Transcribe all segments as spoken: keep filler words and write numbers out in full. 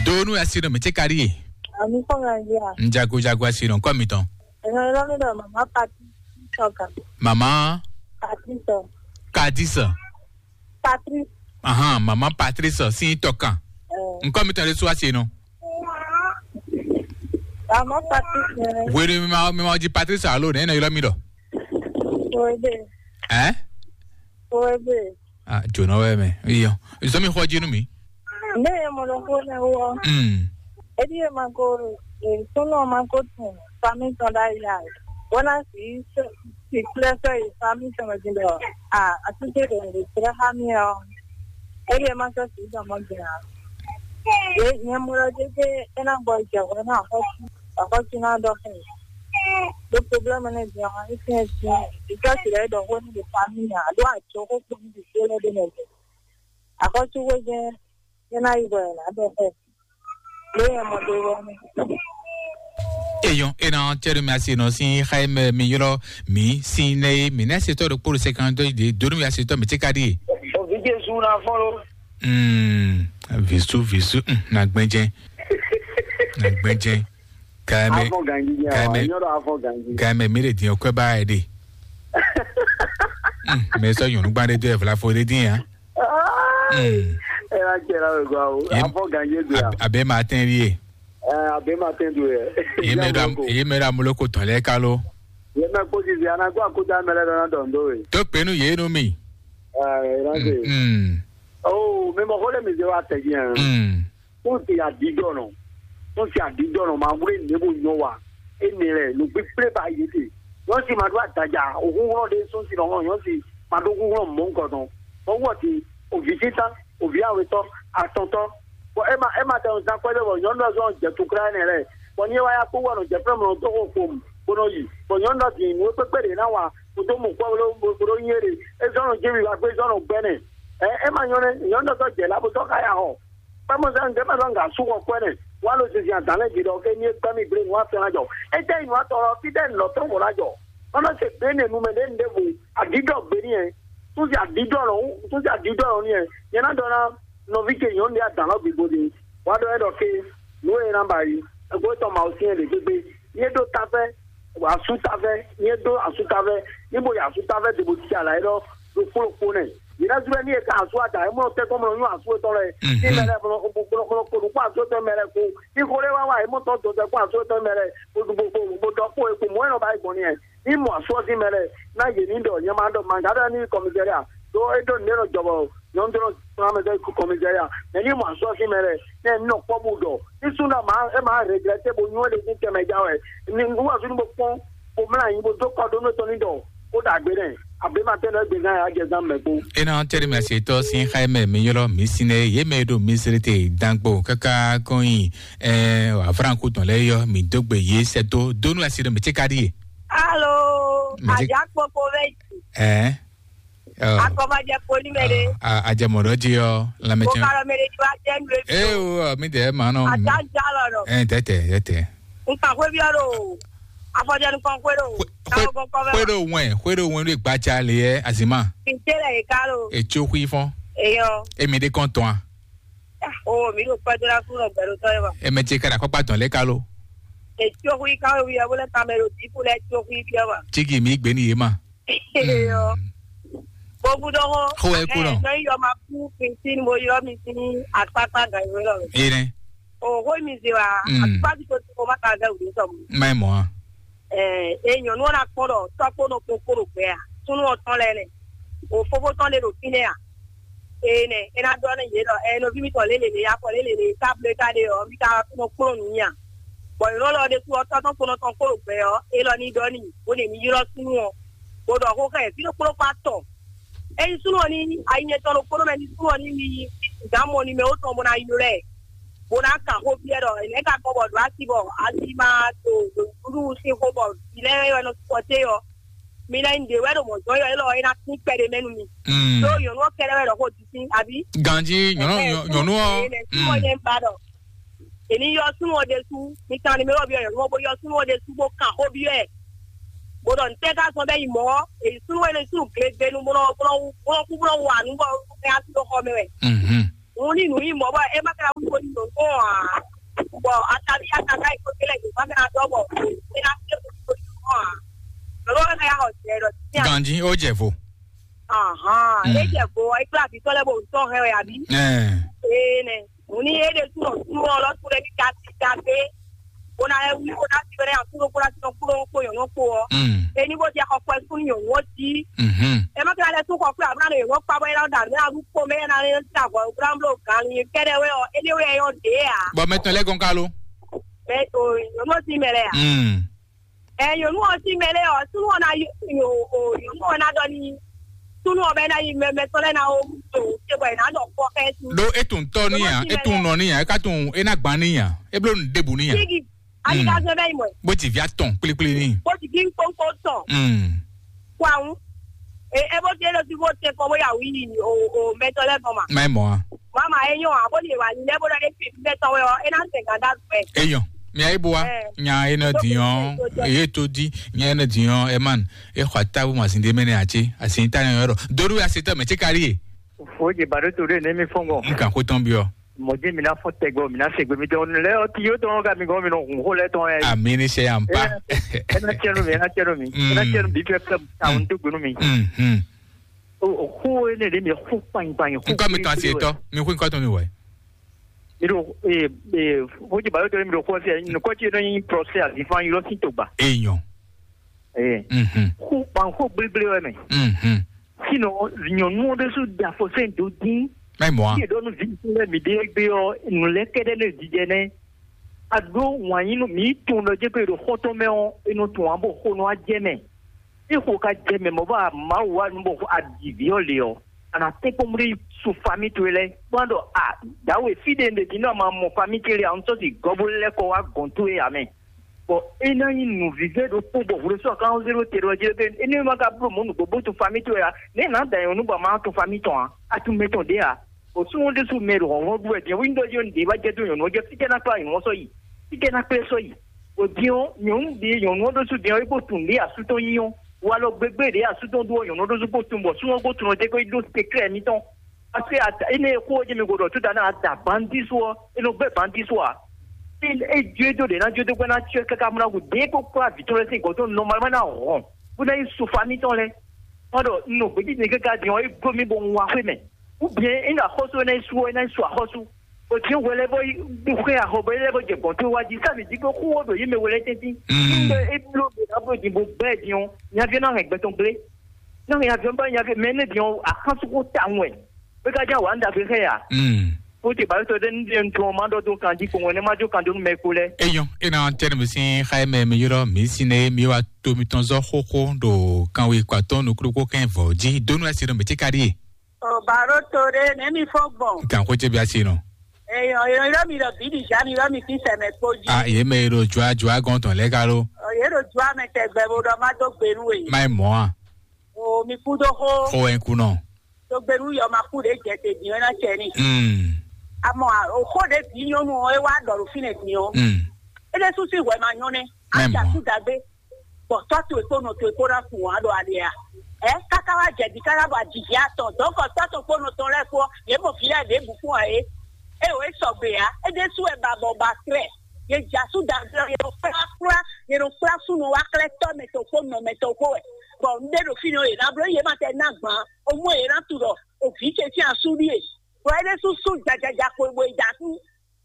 Donu asi no mete kari ye. Ami kɔ nga ya. Njago jago asi no kɔ mi tɔn. Ɛnɛ lɔ mi dɔ mama pati sɔka. Mama Pati sɔ. Kadisa. Patri. Ahan, mama Patrice si tɔkan. Nkɔ mi tɔn de su asi no. Mama pati sɔ. Wele mi ma mi ma di Patrice alo ne na yɔrɔ mi dɔ. Oebe. Eh? Oebe. Ah, jona wɛ mɛ. Iyo. Izo mi xɔ jinu mi. Ne ye mɔ ɖo xó ne wɔ. Mm. Edi ye ma ko, e sɔnɔ ma ko tun fami tɔn da ya. Bona si si kple sɛ yi fami tɔn di dɔ. Ah, asute de de tre ha mi o. Edi ye ma sɔ si dɔ mo gina. E nye mo ɖo de de ena bɔ je wɔ na xɔ. Xɔ si na dɔ xɛ. Do problème ne di o. Isi isi. Ika si le dɔ xɔ ni de fami ya. Do a jo ko ko ni de le de ne. Axɔ́súxwé jɛ́n é ná yi bɔ è nǎ ɖɔ xɛ. Lě e mɔ ɖe wɛ nɛ. Eyɔn ena cɛɖo mi asi nɔ sin xa e mɛ mi ylɔ mi sin nɛ ye mi nɛ setɔ ɖo kpolo sɛkan dɔ de donu mi asi tɔ mi ti ka di. Ovi Jesu na fɔ lo. Mm, visu visu mm, na gbɛjɛ. Na gbɛjɛ. Kaime. Afɔ ganji ya. Kaime. Nyɔrɔ afɔ ganji. Kaime mi de din okwe ba e de. Mm, me sɔ nyɔnu gban de do e vla fo de din ya. Mm. Ela kɛra we gwa o. Ye- Afɔ ganji gbe ya. Ab- abe ma tɛn ri ye. Eh, abe ma tɛn do ye. Ye me da ye me da muloko tɔn lɛ kalo. Ye me ko di ana gwa ko da mele dɔn dɔn do ye. To penu ye no mi. Eh, ela de. Mm. Oh, me mo ko le mi de wa te bien. Mm. Tó ti àdídɔ̀nà, tó ti àdídɔ̀nà máa wúlé nìyẹn bó nyɔ wa. Énɛ́ lɛ, nǔ kpíkplé ba yě te. Nyɔ̌si ma ɖó adaja, òhúnhlɔ́n ɖé sún si nɔ hlɔn nyɔ̌si ma ɖó húnhlɔ́n mɔ̌ nukɔn tɔn. Bɔ wɔ ti, òvǐ títán, òvǐ awetɔ́, atɔntɔ́. Bɔ é ma é ma tɛ nɔ zán kpɛ́ bɔ nyɔ̌nu ɔ́ zɔ́n jɛ tukla énɛ́ lɛ. Bɔ ní é wá yá kpó wɔ nɔ jɛ fɛ́ mlɔ dó xo xom, bó nɔ yi. Bɔ nyɔ̌nu ɔ́ din nǔ e kpékpé ɖě ná wa, kó dó mɔ kpɔ́ bó ɖó bó ɖó nyí éɖe. É zɔ́n nɔ jéwi wá gbé, é zɔ́n nɔ gbɛ́nɛ. Ɛ é ma nyɔ́ nɛ́, nyɔ̌nu ɔ́ zɔ́n jɛ lá bó zɔ́n xá ya xɔ. Kpɛ́mɔzán ɖěbǔ nɔ gǎn sú xɔ kwɛ́ nɛ, wá ló zinzin adǎn lɛ́ɛ gbe ɖɔ ké ní é gbɛ́ mì gblé nǔ afɛn ná jɔ. Étɛ́ nyí nǔ atɔn ɔ́, fítɛ́ nǔ lɔ tɔn vɔ ná jɔ? Má nɔ se gbě nɛ nu mɛ ɖě nu ɖěvo, aɖǐɖɔ gbě n'i wɛ. Súnsi aɖǐɖɔ lɔ, súnsi aɖǐɖɔ lɔ n'i wɛ. Nyɛ ná ɖɔ ná nɔví ce nyɔ̌nu ɖé adǎn lɔ gbigbo ɖe. Wá ɖɔ ɛ ɖɔ ké, nǔ e ná ba yi, ẹgbẹ́ tɔn Mawu syɛ́n ɖě gbégbé. Yé ɖó tafɛ́, asútafɛ́, nyɛ dó asútafɛ́, ní bo yi asútafɛ́ dó bó cí alǎ élɔ́ ɖo kplɔ́kpó nɛ. Yě ná zú wɛ ní e ka asú ada, é mɔ tɛ́ kɔn mɔ nyɔ́ asú etɔn lɛ. Mhm. Ní mɛ lɛ mɔ kó asú etɔn mɛ lɛ kó. Ní xó lé wá wá, é mɔ tɔn dó tɛ́ kó asú etɔn mɛ lɛ, bó ɖu bó bó bó dɔ kpó é kó mɔ é nɔ ba yi gbɔn ní ɛ. Ní mɔ asú ɔ́ sín mɛ lɛ, ná yě ní ɖɔ nyɛ ma ɖɔ mangǎ ɖɔ ní kɔmizɛ́ria. Ɖó é ɖó nǔɖé nɔ jɔ bɔ nyɔ̌nu ɖó nɔ kplɔ́n mɛ dó kɔmizɛ́ria. Mɛ ní mɔ asú ɔ́ sín mɛ lɛ, nɛ ní nɔ kpɔ́ bó ɖɔ. Ní sú ná má é má regrɛté bó nyɔ́ é ɖe sín tɛnmɛ já wɛ. Ní nú wá sú ní bó kpɔ́n bó mlá anyi bó dó kɔ ɖó nú tɔn ní ɖɔ kó ɖagbe nɛ. Abe ma tɛn ɖɔ égbé gán ya jɛ zán mɛ kpó. Ena teri mɛ se tɔ sin xaye mɛ mi yɔlɔ mi sine ye mɛ ɖo mi sere te dangbo kaka kɔn yi ɛ afranku tɔn lɛ yɔ mi dogbe ye sɛ to donu asi ɖe mi tse ka ɖi ye. Alo, Mɛ tse- Ajakpokpo bɛ ɛ Akɔbajɛ poli mɛ ɖe. A- a- ajɛmɔɖɔ ji ɔ lamɛtsɛn Okalɔ mɛ ɖe ti wa jɛ ndu ebi. Ee o mi dɛ ma nɔ Ata ja lɔ nɔ. Ɛ tɛtɛ tɛtɛ. Nkan xwe bi ɔlo. Afɔjɛ nkan xwe ɖo. Xwe- Kawo gɔn kɔ bɛ. Xwe ɖo wɛn xwe ɖo wɛn ɖo gbatsa le yɛ azima. Kinte lɛ yi ka lo. Etso xui fɔn. Eyɔ. Emi ɖe kɔn tɔn a. O mi ɖo kpɛdo la fún ɔgbɛ ɖo tɔ yɛ ma. Eme tse ka ɖe akɔkpa tɔn lɛ ka lo. Etso xui ka wo yɛ wole kamɛ ɖo diku lɛ etso xui bi ɔma. Tsigi mi gbe ni ye ma. Eyɔ. Bobu dɔgɔ. Xo wɛ ku nɔ. Nɔ yɔ ma ku pintin mo yɔ mi sin akpakpa gan yi wɛ lɔ. Ene. O xo mi se wa. Mm. Akpa ti ko ti ko ma ka gan wuli sɔmu. Ma mɔ a. Ɛ e nyɔnu ɔ́ ná kpɔ́n ɖɔ tɔ́kpó nɔ kpɔn kpó ɖo gbɛ a súnú ɔ́ tɔn lɛ́ɛ nɛ o fofó tɔn ɖe ɖo fínɛ́ a ee nɛ é ná ɖɔ nú yě ɖɔ ɛ nɔví mitɔn lě lě lě afɔ lě lě lě ká blé ká ɖe ɔ́ mi ka nɔ kplɔ́n nǔ nyi a bɔ nyɔ̌nu ɔ́ lɔ ɖésú ɔ́ tɔ́ tɔn kpónɔ tɔn kpó ɖo gbɛ ɔ́ é lɔ ní ɖɔ n'i bó ɖe mi ylɔ́ súnú ɔ́ bó ɖɔ xó xá ɛ fí ɖokpó ɖokpó atɔn ényí súnú ɔ́ ní ayi nyɛtɔn ɖokpó ɖó mɛ ní súnú ɔ́ ní mi gǎn mɔ ní mɛ ó tɔn bó ná ylɔ́ ɛ bó ná kan xó byɔ́ ɖɔ nɛ̌ ka gbɔn bɔ ɖǒ asi bɔ asi ma to ɖo nǔɖuɖu sín xó bɔ vǐ lɛ́ɛ wɛ nɔ sukpɔté ɔ́, mi ná nyí ɖě wɛ ɖo mɔ̌ zɔ́n ɔ́, élɔ́ é ná tín kpɛɖé mɛ nú mi. Mm. Ɖó nyɔ̌nu ɔ́ kɛ́ɖɛ́ wɛ ɖɔ xó disín, abí? Ganjí nyɔ̌nu Ɛhɛn, nyɔ- súnnu nyɔ̌nu ɔ́. Ɛ, súnnu ɔ́ Mm. nyɛ ń ba ɖɔ. Èní yɔ súnnu ɔ́ ɖésú, mi kan ni mi wɔ byɔ́ nyɔ̌nu ɔ́ bó yɔ súnnu ɔ́ ɖésú bó kan xó byɔ́ ɛ. Bó ɖɔ ntɛ́ ka zɔn bɛ́ yi mɔ̌ ɔ́, èyí súnnu ɔ́ é nɔ súnnu glegbenu bó nɔ bó nɔ bó nɔ kú bó nɔ wa nǔ bɔ é á sí ɖó xɔ mɛ wɛ. Mhm. Òun ní nǔ nyí mɔ̌ bɔ é má ka ko nyi nyɔ̌nu ɔ́ ǎ. Bɔ ataví ataká yi ko télé nyɔ̌nu ɔ́ ná dɔ́ bɔ é ná tɛ́ ko nyi nyɔ̌nu ɔ́ ǎ. Nyɔ̌nu ɔ́ ná yá xɔ jɛ ɖɔ tíntín ǎ. Ganji, ó jɛ vo. Ahán, Mm. É jɛ vo ɔ́, é kplá vǐ tɔn lɛ́ɛ bɔ vǐ tɔn hɛn wɛ àbí? Ɛɛ. Ee nɛ. Òun ní é ɖe súnɔ súnɔ ɔ́ lɔ súnɔ ní kasi kasi. Bó ná lɛ́ wí bó ná sí bɛ́ ná kúɖó kúɖó sí kúɖó kpó nyɔ̌nu kpó ɔ́. Mm. Ení bó jɛ xɔ kpɛ sún nyɔ̌nu ɔ́ jí. Mhm. É má ka lɛ́ sú xɔ kpé àbúrò nyɔ̌nu ɔ́ kpá bɔ é ná ɖo àmì ná wú kpó mɛ é ná lɛ́ sí avɔ wúrá bló gǎn ní kɛ́ɖɛ́ wɛ ɔ́, éɖé wɛ é yɔ ɖě ǎ. Bɔ mɛ tɔn lɛ́ gɔn ká lo. Mɛ o nyɔ̌nu ɔ́ sí mɛ lɛ ǎ. Mm. Ɛ nyɔ̌nu ɔ́ sí mɛ lɛ ɔ́, súnú ɔ́ ná yí o o nyɔ̌nu ɔ́ ná ɖɔ ní súnú ɔ́ bɛ ná yí mɛ mɛ tɔn lɛ ná o to te bɔ è nǎ ɖɔ kpɔ xɛ sí. Ɖó é tunwun tɔ́ ní nya, é tunwun nɔ ní nya, é ka tunwun é ná gbán ní nya, é bló nǔ ɖěbǔ ní nya. Kígi, ali ka zɔn bɛ yi mɔ ɛ. Bó ti via tɔn kplékplé ní. Bó ti kí kpónkpó tɔn. Mm. Kó àwọn ẹ ẹ bó ti é lọ sí bó tẹ kọ bóyá wí o o mẹtọ lẹ bọ ma. Má ẹ mọ̀ á. Wàá máa ẹ yàn á bó lè wà ní lẹ bó lọ dé fi mẹtọ wẹ ọ ẹ náà tẹ gàdá gbẹ. Eyɔn, mi ayi bua, Ɛ. Nya ene diɔn, eye to di, nya ene diɔn, eman, e xɔ atabu ma sin de mene atsi, asin ta ne yɔrɔ. Doru ya se tɔ mɛ tsi kari ye. Fo je ba ɖo to ɖe ne mi fɔn gɔn. N kan ko tɔn biɔ. Mɔdé mi ná fɔ tɛgbɛ mi ná se gbemi tɔn lɛ ɔti yóò tɔn ka mi gɔn mi nɔ hun xó lɛ tɔn yɛ. Ami ni se yan pa. Ena tiɛnu mi ena tiɛnu mi ena tiɛnu bi fɛ fɛ awon tó gbenu mi. Mhm. O xó ene ɖe mi xó kpanyi kpanyi xó. Nkɔ mi tɔn asi etɔ, mi xó nkɔ tɔn mi wɛ. Mi ɖo ee ee xó ji ba yóò tɔn mi ɖo xó ɛsɛ nukɔ tsi nɔ nyi prɔsɛ azifan yi lɔ si to gba. Eyɔn. Ee Mhm. Xó kpan xó gblégblé wɛ mɛ. Mhm. Sinɔ nyɔnu ɔ́ ɖésú da afɔ sɛn dó dín. Mɛ mɔ a. Yé ɖɔ nú vi lɛ mi ɖe gbé ɔ́ nǔ lɛ kɛɖɛ nɛ jijɛ nɛ. A ɖó wǎn yí nú mi tun ɖɔ jɛ pé ɖo xɔtɔn mɛ ɔ́ e nɔ tun wǎn bɔ xo nɔ wá jɛ mɛ. É xo ka jɛ mɛ mɔ bɔ Mawu wá nu bɔ a ɖi vǐ ɔ́ lě ɔ́, a nǎ tɛ́nkpɔ́n blí su fami towe lɛ́ɛ kpɔ́n ɖɔ a dǎwe fí ɖe un ɖe din nɔ ma mɔ fami ce lé a un sɔ́ si gɔ́ bó lɛ́ kɔ wá gɔ̌n towe ǎ mɛ. Bɔ é ná nyí nǔvívɛ́ ɖokpó bɔ hwlɛ́sɔ́ kan zéro te ɖɔ jɛ pé énɛ́ ma ka bló mɔ̌ nǔgbó bó tun fami towe ǎ. Nɛ̌ nǎ da nyɔ̌nu bɔ a ma tun fami tɔn ǎ? A tun mɛ tɔn ɖě ǎ. Bɔ súnnu ɖésú mɛ ɖo hlɔ̌nhlɔ́n ɖu wɛ din wíńdɔ́ jí ɔ́ nǔɖé wá jɛ dó nyɔ̌nu ɔ́ jɛ fí tɛ́ ná kplá nyɔ̌nu ɔ́ sɔ́ yi? Fí tɛ́ ná kplé sɔ́ yi? Bɔ din ɔ́, nyɔ̌nu ɖě nyɔ̌nu ɔ́ ɖésú din ɔ́, é kpo tunwun ɖě asú tɔn nyí ɔ́. Walɔ gbégbé ɖě asú tɔn ɖu ɔ́, nyɔ̌nu ɔ́ ɖésú kpo tunwun bɔ súnnu ɔ́ kpo tunwun ɔ́ jɛ kó yi ɖó seklɛ́ mǐtɔn. Parce que ata énɛ́ e xó ɔ́ jɛ mi go ɖɔ tó dáná adabandi só ɔ́, é nɔ gbɛ́ bandi só ǎ. É é jó é dó ɖě ná jó dó gbɛ́ ná cyɔ káká mlá gǔ dě kó kplá vǐ tɔn lɛ́ɛ sín gɔ̌ tɔn nɔmalmá ná hɔn bó ná yi so famí tɔn lɛ́ɛ. Má ɖɔ un nɔ gbějínjɛn káká din ɔ́, é gbló mì bɔ un wá xwé mɛ. Ou bien é ná xɔ́sú é ná yi sú ɔ́, é ná yi su axɔ́sú. Bó dín hwɛ lɛ́ɛ bɔ yi xwé axɔ bɔ é lɛ́ɛ bɔ jɛ gɔ̌n tó wá jí. Sábì jí kó xú ɔ́ ɖo yě mɛ hwɛ lɛ́ɛ tɛ́ntin. Mm. É bló mì ná bló din bó gbɛ́ din ɔ́, nyaví ɔ́ ná hɛn gbɛ tɔn gblé. Ná hɛn nyaví ɔ́ bá nyaví mɛ énɛ́ din ɔ́, axán sú xó tawun wɛ. Bó ka jẹ́ wǎ ɖagbe xɛ ya. Mm. Ó ti bǎ sɔ ɖe ní ɖe ntɔn má ɖɔ dó kan jí kpɔn ne má jó kan dó nú mɛ kpo lɛ. Eyɔn, ena tɛnɛ mi sin xa mɛ mi yɔrɔ mi sin ne mi wa to mi tɔn zɔ xoxo ɖo kanwe kpatɔ nukuru ko kɛn vɔ jí donu asi ɖo mi ti ka ɖi ye. O baro to ɖe ne mi fɔ gbɔn. Kan ko ce bi asi nɔ. Eyɔn, eyɔn yɔrɔ mi ɖɔ bi di ja mi yɔrɔ mi fi sɛmɛ kpo jí. A ye mɛ ɖo jua jua gɔn tɔn lɛ ka lo. Ɔ ye ɖo jua mɛ tɛgbɛ bo ɖɔ má dó gbenu e. Má yi mɔ a. O mi kú dó xó. Xó wɛ ń kú nɔ. Tó gbé nú yɔ ma kú ɖě jɛ te din ɔ́ ná cɛ ní. Mm. Àmọ́ òkó ɖě bí nyɔnu ɔ́ é wá ɖɔ ɖo fínɛ́ din ɔ́. Mm. É ɖésú sín hwɛ ma nyɔ́ nɛ́. Mɛ Á jà mɔ. Sú dagbe. Bɔ tɔ́ towe kpó nɔ towe kpó ná kun wǎn ɖo ali a. Ɛ káká wá jɛ di káká bɔ ajijɛ atɔn dɔ̌nkɔ tɔ́ tɔn kpó nɔ tɔn lɛ́ɛ kpó yě mɔ vǐ lɛ́ɛ ɖěbǔ kpó ǎ é. É o é sɔgbe ǎ. É ɖésú wɛ ba bɔ ba klɛ́. Yě jà sú dagbe ɔ́, yě ɖo kplá kplá, yě ɖo kplá súnnu wá klɛ́ tɔ́ mɛ tɔn kpó nɔ mɛ tɔn kpó wɛ. Bɔ un ɖe ɖo fínɛ́ ɔ́, yě ná bló yě ma tɛ ná gbǎn. Omú e yě ná tunɔ òvǐ ce sín asú ɖíe. Bɔ é ɖésú sú jajaja xwebó e jasú.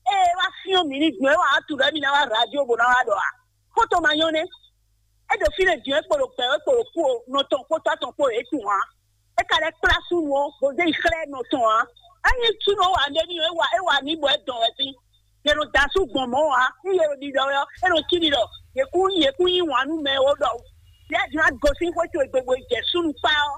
Ée é wá fyɔ́n mǐ ní gbɔn é wǎ tunɔ émí ná wá radio bó ná wá ɖɔ a? Xó tɔn ma nyɔ́ nɛ́. É ɖo fínɛ́ din é kpo ɖo gbɛ̌ é kpo ɖo kú o, nɔ tɔn kpó tɔ́ tɔn kpó é tunwun ǎ. É ka lɛ́ kplá súnnu ɔ́, bó zé yi xlɛ́ nɔ tɔn ǎ. Ényí súnnu ɔ́ wa ɖé n'i é wa é wa n'i bɔ é dɔn wɛ fí. Yě nɔ da asú gbɔn mɔ̌ ǎ, ní yě ɖo ɖiɖɔ wɛ ɔ́, é nɔ cí ɖiɖɔ, yě kún yě kún yí wǎn nú mɛ ɔ́ ɖɔ. Yě a jǐ ná gosín xwé towe gbe bó yi jɛ súnnu kpá ɔ́,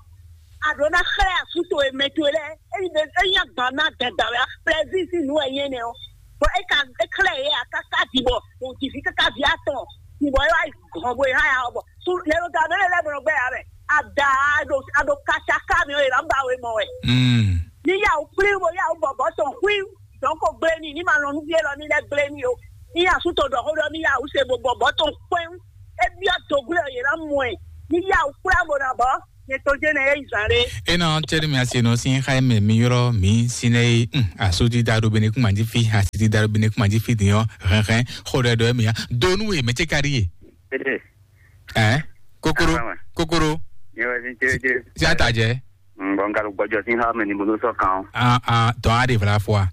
a ɖǒ ná xlɛ́ asú towe mɛ towe lɛ́ɛ, ényí ɖe ényí agban ná dɛn dǎn wɛ ɔ́, plɛzín sín nǔ wɛ nyí énɛ́ ɔ́. Bɔ é ka é xlɛ́ yě ǎ káká din bɔ wǒ ji vǐ káká vǐ atɔn, din bɔ é wá yi gɔ̌n bó yi há ya ɔ́ bɔ sú lě ɖo ta ɖó lɛ́ lɛ́ bɔ nɔ gbɛ́ ya mɛ. Ada a ɖo a ɖo kaca ká mi ɔ́, è nǎ ba we mɔ wɛ. Mm. Ní yá wǔ kplí bó yá wǔ bɔbɔ́ tɔn xwí dɔ̌n ko gblé n'i, ní ma lɔn nú fí élɔ́ ní lɛ́ gblé n'i ó. Ní yá sú to ɖɔ xó ɖɔ ní yá wǔ se bo bɔbɔ́ tɔn kpɛ́n. É byɔ́ dǒglé ɔ́, yě ná mɔ ɛ. Ní yá wǔ kplá bó ná bɔ́. Nyɛ tɔn jɛ́n nɛ é yi zan ɖé. Ena cɛli mi asi nɔ sin xa mɛ mi yɔrɔ mi sinɛ yi. Hmm, asu ti da ɖo bene kuma ji fi, asi ti da ɖo bene kuma ji fi din ɔ hɛn hɛn xo ɖɛ ɖɔ mi ya donu ye mɛ ce ka ɖi ye. Ede. Ɛ kokoro. Ama. Kokoro. Nyɛ wɛ sin cɛ cɛ. Si ata jɛ. Bɔn nka ɖo gbɔjɔ sin xa mɛ ni bolo sɔ kan. Ah ah, tɔn a ɖe vla fɔ a.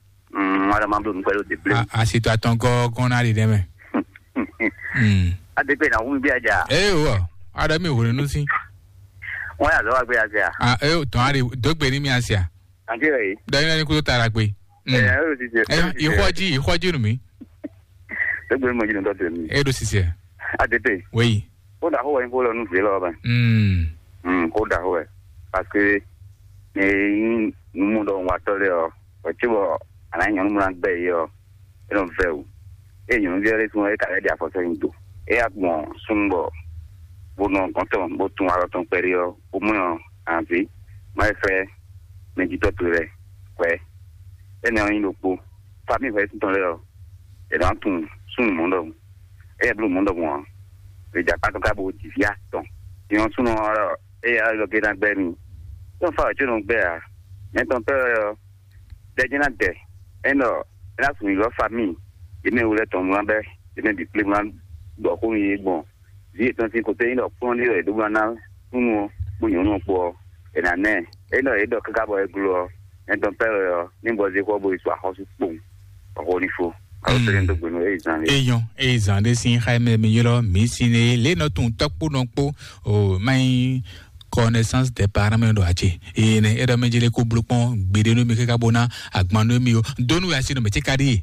Wala ma bló nukpɛ ɖo deblé. Asi to atɔn gɔgɔn na ɖi ɖɛ mɛ. Hmm. Ade pe na wu mi bi aja. Ee wɔ, aɖe mi hwenu nu si. Wọn yà lọ wá gbé asia. Ah, ee tɔn a ɖe dogbe ni mi asia. Ante rẹ yi. Dɔnyi lẹni kudo tara gbe. Hmm. Ẹ ẹ o ti jẹ. Ẹ ìxɔji ìxɔji nu mi. Dogbe ni mo jí nù dɔtɔ mi. E ɖo sisɛ. Ade pe. Wei. Ó dà xó wɛ nyí xó lɔ nú vǐ lɔ bɛ. Hmm. Hmm, xó dà xó wɛ. Parce que ne nyí numɔ ɖɔ un wa tɔ lɛ ɔ, wɛ tsi bɔ ana nyɔnu mla gbɛ yi ɔ, e nɔ vɛ o. E nyɔnu vɛ ɖe tun e ka lɛ ɖi afɔ sɛ nyi do. E ya gbɔn sun bɔ bo nɔ gɔn tɔn bo tun alɔ tɔn kpɛɖe ɔ, bo mɔ ɔ, anvi ma e fɛ mɛ jitɔ to lɛ kwɛ. E nɛ ɔ nyi ɖokpo. Fami hwɛ tɔn lɛ ɔ, e nɔ tun sun mɔ ɖɔhun. E yɛ blo mɔ ɖɔhun ɔ, e ja kpa tɔn ka bo ji via tɔn. Nyɔ sun ɔ, e ya lɔ ge na gbɛ mi. Tɔn fa wɛ tso nɔ gbɛ a? Mɛ tɔn pɛ ɔ, dɛ jɛ́n ná dɛ, é nɔ é ná sun yi lɔ fa mì, yě mɛ wlɛ́ tɔn mlá bɛ́, yě mɛ bǐ kplé mlá ɖɔ xó nú yě gbɔn. Vǐ yětɔn sín kotɛ́ nyí ɖɔ kplɔ́n ɖé wɛ è ɖǒ ná ná súnnu ɔ́ kpó nyɔ̌nu ɔ́ kpó ɔ́, è nǎ ná ɛ. É nɔ yě ɖɔ káká bɔ é gló ɔ́, nya tɔn pɛ́ wɛ ɔ́, ní bɔ zé xɔ bo yi sɔ axɔ́sú kpowun, bɔ xó ní fó. Alo sɛ́ ɖó gbenu é yi zan lé. Eyɔn, e zan ɖé sín xá mɛ mi ylɔ́ mǐ sín é lě nɔ tunwun tɔ́ kpó nɔ kpó o má nyí connaissance des parents mɛ ɖo acé. Eye nɛ é ɖɔ mɛ jele kó bló kpɔn gbeɖé nú mi káká bó ná agban nú mi o. Dónú ya sí nɔ mɛ tí ka ɖíe.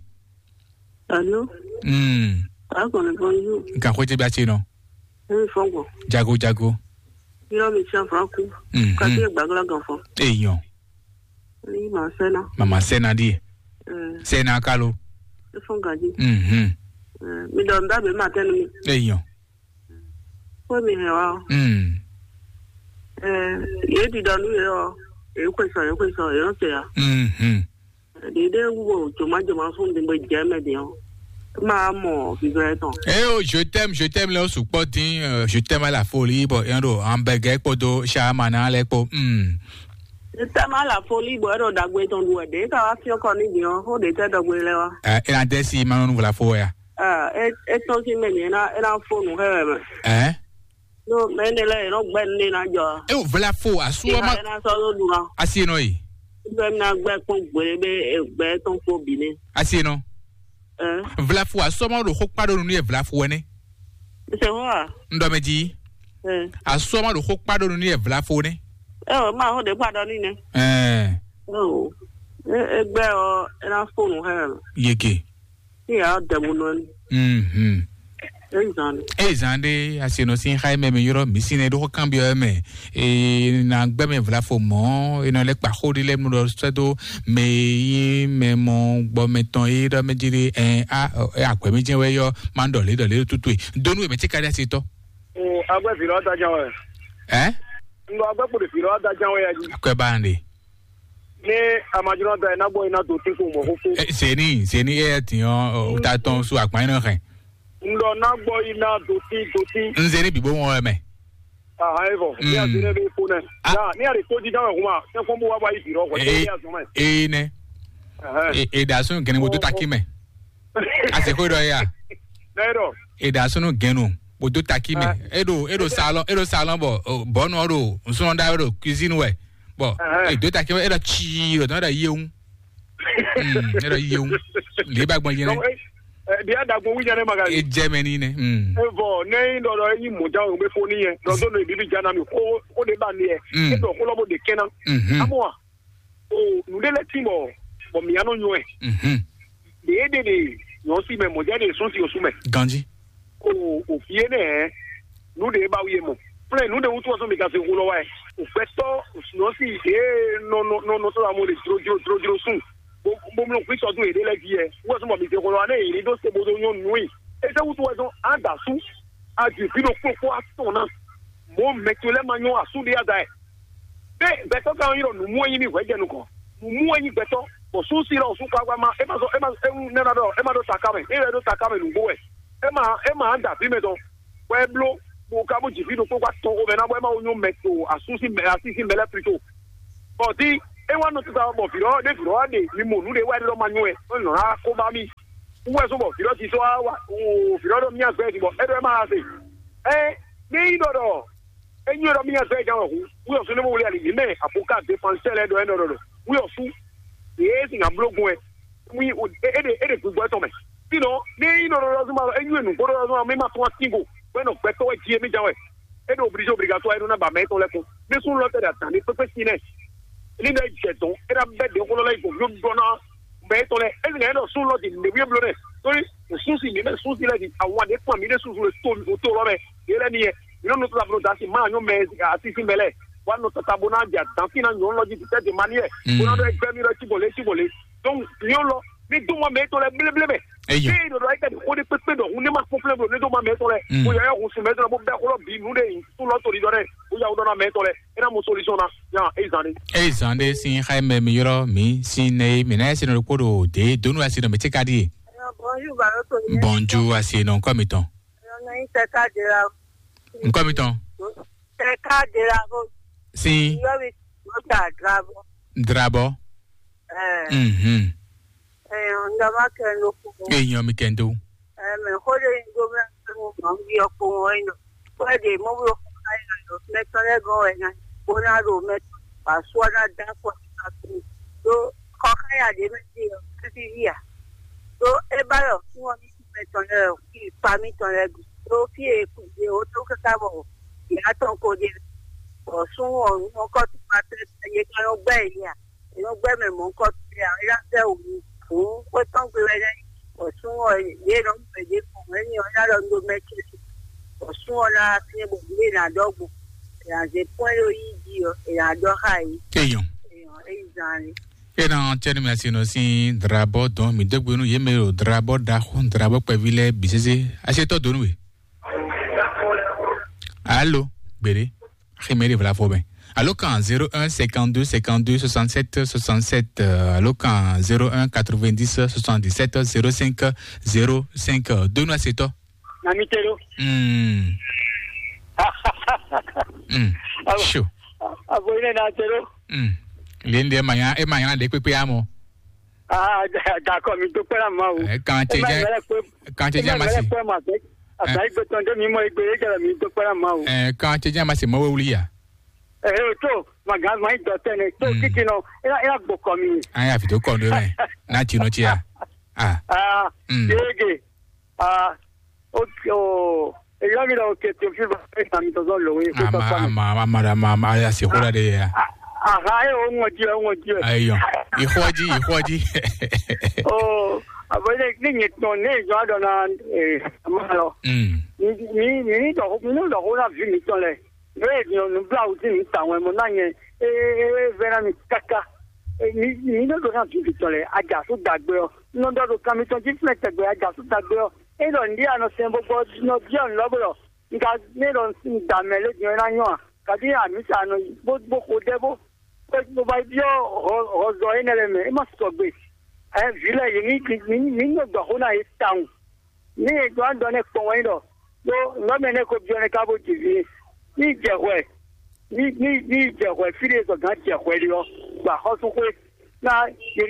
Alo. Hmm. Akɔni bonjour. Nka xwé tɛ bí acé nɔ. Emi fɔn gbɔ. Jago jago. Yɔ mi tiɲɛ fɔ ku. Mhm. Kati gbàgbla gan fɔ. Eyɔn. Ni ma sɛna. Mama sɛna ɖíe. Eh. Sɛna kalo. Efɔn gaji. Mhm. Eh, mi dɔ nda be ma tɛnu mi. Eyɔn. Ko mi hɛn wa. Mm. Eh, ye di dɔ nu ye ɔ. Ye ko sɔ, ye ko sɔ, ye ɔ se ya. Mhm. Ɖiɖe wú joma joma fún mi bó jɛ mɛ din ɔ. Ma mɔ vivɛ tɔn. Eh oh, je t'aime, je t'aime lɛ o sukpɔ din, euh, je t'aime à la folie, bon, yɛn ɖo Hamburger kpódó Sharman lɛ kpó. Hmm. Je t'aime à la folie, bon, ɛɖɔ dagbe tɔn ɖu wɛ ɖe ka wá fiɔ kɔ ní din ɔ, xó ɖe tɛ dɔgbe lɛ wa. Eh, e na dɛ si ma nɔ nu vla fo ya. Ah, e e tɔn si mɛ ni e na e na fo nu xɛ wɛ mɛ. Eh? No, mɛ ne lɛ e nɔ gbɛ ne na jɔ. E o vla fo asu ma. E na sɔ ɖo ɖu na. Asi nɔ yi. Gbɛ na gbɛ kpɔn gbele be gbɛ tɔn kpɔ bi ne. Asi nɔ. Eh. Vlafu asɔmɔ ɖo xó kpa ɖo nu nú yɛ vlafu wɛ nɛ. Ṣe hó a? Ŋɖɔ mɛ jí. Eh. Asɔmɔ ɖo xó kpa ɖo nu nú yɛ vlafu nɛ. Ɛ o ma xó ɖe kpa ɖɔ ní nɛ. Ɛɛ. Ɛ o. Egbɛ ɔ ena fóònù hɛ. Yeke. Ní yà á dẹ̀mú nọ ni. Mhm. Ezan. Ezan ɖe asenɔ sin xa mɛ mi yɔrɔ mi sin ne ɖo kan biɔ mɛ. E na gbɛ mɛ vlafo mɔ e nɔ lɛ kpa xó ɖi lɛ nu ɖɔ sɛ do mɛ yi mɛ mɔ gbɔ mɛ tɔn yi ɖɔ mɛ jiri ɛ a ɛ akwɛ mi jɛ wɛ yɔ ma ɖɔ le ɖɔ le tutu e donu mɛ ti ka ɖi asi tɔ. O agbɛ vi lɔ da jan wɛ. Ɛ. N ɖɔ agbɛ kpo ɖe vi lɔ da jan wɛ ya ji. Akwɛ ba ɖe. Ní amajunɔ da ina gbɔ ina do tí kò mɔ kókó. Ɛ zeni zeni ɛ ti yɔ o ta tɔn su akpa ina hɛn. N ɖɔ na gbɔ ina do tí do tí. N zeni bibo wọn mɛ. Ahan e vɔ ní a zeni bɛ fo nɛ. Ya ní a lè tó dídá wɛ kuma sɛ fɔn bó wá bá yi bìrɔ kɔ ní a zɔn mɛ. Ee nɛ. Ɛhɛn. E da sun gɛnɛ mo tó taki mɛ. A se ko dɔ ya. Nɛ dɔ. E da sun gɛnɛ mo tó taki mɛ. E do e do salon e do salon bɔ bɔnu ɔ do nsɔn da do cuisine wɛ. Bɔ e do taki mɛ e do tsi do tɔn da yewu. Mm, e do yewu. Lè ba gbɔn yẹn. Ɛ, ɛ, bi a dagbo wu jɛnɛ maga. E jɛ mɛ ni nɛ. Mm. E vɔ ne yi dɔ dɔ yi mo ja o be fo ni yɛ. Dɔ do no bibi ja na mi ko ko de ba ni yɛ. Mm. E dɔ ko lɔ bo de kɛna. Mhm. Amo a. O nu de lɛ ti bɔ bɔ mi ano nyɔ ɛ. Mhm. De de de nyɔ si mɛ mo ja de sun si o su mɛ. Ganji. O o fie nɛ. Nu de ba wi mɔ. Plɛ nu de wutu ɔsɔ mi ka se ko lɔ wa ɛ. O gbɛtɔ nyɔ si de nɔ nɔ nɔ nɔ to la mo de dro dro dro dro sun. Bo bo mlɔ kwi sɔdun yě ɖe lɛ ví yɛ wɔ sɔmɔ mi se xɔ lɔ ne yě ɖo se bo do nyɔ nui. Ese wutu wɛ zɔn ada su adi vi ɖo kpokpo atɔn na. Mo mɛ to lɛ ma nyɔ asu ɖe ada yɛ. Be gbɛtɔ kan yɔ numu enyi mi hwɛ jɛ nukɔ. Numu enyi gbɛtɔ bɔ su si lɔ su kagba ma ema zɔ ema ewu nɛna dɔ ema ɖo taka mɛ e yɛ ɖo taka mɛ nugbo wɛ. Ema ema ada vi mɛ dɔ wɛ blo. bó ka bó jǐ fí ɖokpó kpó atɔn xomɛ ná bɔ é má wo nyɔ́ mɛ to asú sín mɛ así sín mɛ lɛ́ɛ plito. Bɔ dín é wá nɔ tata bɔ vǐ ɔ́ ɖé vǐ ɔ́ wá ɖe mi mɔ nǔ ɖé wá ɖé ɖɔ ma nyɔ́ wɛ é nɔ ná kó bá mì. Wú wɛ sɔ́ bɔ vǐ ɔ́ titɔ wá wá o vǐ ɔ́ ɖɔ mì azɔ̌ ɛ din bɔ é ɖɔ é má ha se. Ɛ ní nyí ɖɔ ɖɔ é nyɔ́ ɖɔ mì azɔ̌ ɛ din wɛ hǔn wú ɔ́ sɔ́ ní mɔ wlé ali yě mɛ avoka défenseur lɛ́ɛ ɖɔ é nɔ ɖɔ ɖɔ wú ɔ́ sú yě sin nǎ bló gbɔn ɛ. Mui é ɖe é ɖe gbígbɔ tɔn mɛ. Sinɔ ní é nyí nɔ ɖɔɖɔ zuma é nyí nǔgbó ɖɔɖɔ zuma mɛ ma tún asin go bɔ é nɔ gbɛtɔ́ wɛ jí émí ján wɛ. É ɖo obligé obligatoire é nɔ ná ba mɛ étɔn lɛ́ɛ kún ní sún lɔ tɛ ɖe adǎn ní kpékpé sin nɛ ní ɖɔ é jɛ dɔn é ná bɛ ɖě xó lɔ lɛ́ yi gbɔn yó ɖɔ ná mɛ étɔn lɛ́ɛ é zin ɛ ɖɔ sún lɔ di nɖe wíyé bló nɛ torí sún si mǐ mɛ sún si lɛ di àwọn àdé kpɔn mǐ ɖe susu le tó o tó lɔ mɛ yé lɛ ní yɛ mǐ nɔ nutɔ ablo dasi má nyɔ mɛ asisi mɛ lɛ wa nɔ tata bo ná di adǎn fín ná nyɔ lɔ jí tɛ di ma ní yɛ bó ná ɖɔ ẹgbẹ́ mi lɔ cí bò lé cí bò lé donc nyɔ lɔ ní dó mɔ mɛ étɔn lɛ bléblé mɛ Eyo. Ní ìdòdò ayé kẹ́ni kó ní pépé dɔ̀hún ní ma kpɔ́n plɛ́n blo ní tó ma mɛ tɔn lɛ. Mo yà yà hùn sùn mɛ tɔn lɛ bó bɛ́ xó lɔ bǐ nǔ ɖe yìí tún lɔ tó ní dɔn dɛ. Bó yà wó dɔn ná mɛ tɔn lɛ. É ná mo solution ná. Yà é zan ní. Eye zan ɖe sín xá mɛ mi ylɔ́ mǐ sín nɛ e mǐ ná yɛ sinɔ ɖokpó ɖo dě donu asi nɔ mǐ ce ka ɖíe. Bonjour, Baroto. Bonjour, asi nɔ ŋkɔ mitɔn. Ŋkɔ mitɔn. Teka de la vo. Sín. Yɔ mi mo ta drabo. Drabɔ. Eh. Mhm. Eh, ndama kendo ko. Eyan mi kendo. Eh, me xo de ndo me mo ma ngi ko mo ino. Ko de mo blo ko ai na do. Me tole go e na. Ko na do me pa so na da ko. Do ko ka ya de me ti. Ti ya. Ɖó é ba ɖɔ súnnu ɔ́ ní sú mɛ tɔn lɛ́ɛ ɔ́, fí pa mǐtɔn lɛ́ɛ gbe. Ɖó fí e è kú ɖe ó tó káká bɔ yě ná tɔn ko ɖe bɔ súnnu ɔ́ nú ɔ́ kɔ tún ma tlɛ yě ká nɔ gbɛ́ yě ǎ. È nɔ gbɛ́ mɛ mɔ̌hunkɔtɔn lɛ́ɛ ǎ, é ná vɛ́ wǔ nú hǔn xwé tɔn gbe wɛ nɛ́. Bɔ súnnu ɔ́ yě nɔ mɛ ɖě gbɔn mɛ ní ɔ́ ná ɖɔ nú mɛ ce bɔ súnnu ɔ́ ná wá fínɛ́ bɔ nǔ e è nǎ ɖɔ gbɔn è nǎ zé pɔ́n é ɖo yí jí ɔ́, è nǎ ɖɔ xá yě. Eyan. Èèyàn é yi zan ni. Ena tiɛni mi asi nɔ si drabɔ dɔn mi degbe nu ye me ɖo drabɔ ɖaxó drabɔ kpɛvi lɛ bi sese asi tɔ donu we. Alo, gbede xime ɖe vla fɔ mɛ. Alo kan zéro un cinquante deux cinquante deux soixante sept soixante sept, alo kan zéro un quatre vingt dix soixante dix sept zéro cinq zéro cinq, donu asi tɔ. Na mi te ɖo. Hmm. Hmm. Abo. Sure. Abo yi ne na te ɖo. Hmm. Lende manya e manya de pepe amo. Ah, d'accord, mi to pera ma o. Eh, kan che ja, kan che ja masi. Asa igbe tɔn de mi mo igbe e jara mi to pera ma o. Eh, kan che ja masi mo we wuli ya. Eh, to, ma ga ma do tene, to kiti no. Ela ela gbo ko mi. Aya fi to ko ndo me. Na ti no ti ya. Ah. Ah, mm. Yege. Ah, okay, oh, èyí mi lọ òkè tó fi bá ẹ sàmì tó sọ lòwe kó tọ́ Ama, sàmì. Ama, ama, ama, ama, ama, ya se kura de ya. Aha, ẹ o ŋɔ di, o ŋɔ di. Ayo. Ihoji, ihoji. Oh, àbọ̀ ilé ní yẹn tán ní ìjọ àdọ̀ náà ẹ̀ máa lọ. Mm. Ní ní ní dọ̀kú ní dọ̀kú náà fi mi tán lẹ̀. Ní èdè ọ̀nù bíláwù tí mi tà wọn mọ̀ náà yẹn. Ee, ee, vẹ́ràn mi káká. Ní ní dọ̀kú náà fi mi tán lẹ̀. Ajá tó dàgbé ọ. Ní dọ̀kú kan mi tán jí fúnẹ̀ tẹ̀gbẹ́ ajá tó dàgbé ọ. Ena ndi anɔ sɛn bɔ gbɔ nɔ biɔ nɔ bɔ nka ne ɖɔ da mɛ le diɔ na nyɔ a kadi ami sa nɔ bo bo ko de bo bo ba biɔ hɔ hɔ zɔ ene le mɛ e ma sɔgbe. Ɛ vi lɛ yi ni ni ni nɔ gbɔ xo na ye taun. Ni ye dɔ an dɔ ne kpɔn wɛ ɖɔ do nɔ mɛ ne ko biɔ ne ka bo ji vi ni jɛ hwɛ. Ní ní ní jɛ hwɛ fí ɖé zɔgán jɛ hwɛ ɖé ɔ́, gba xɔ́súxwé ná yě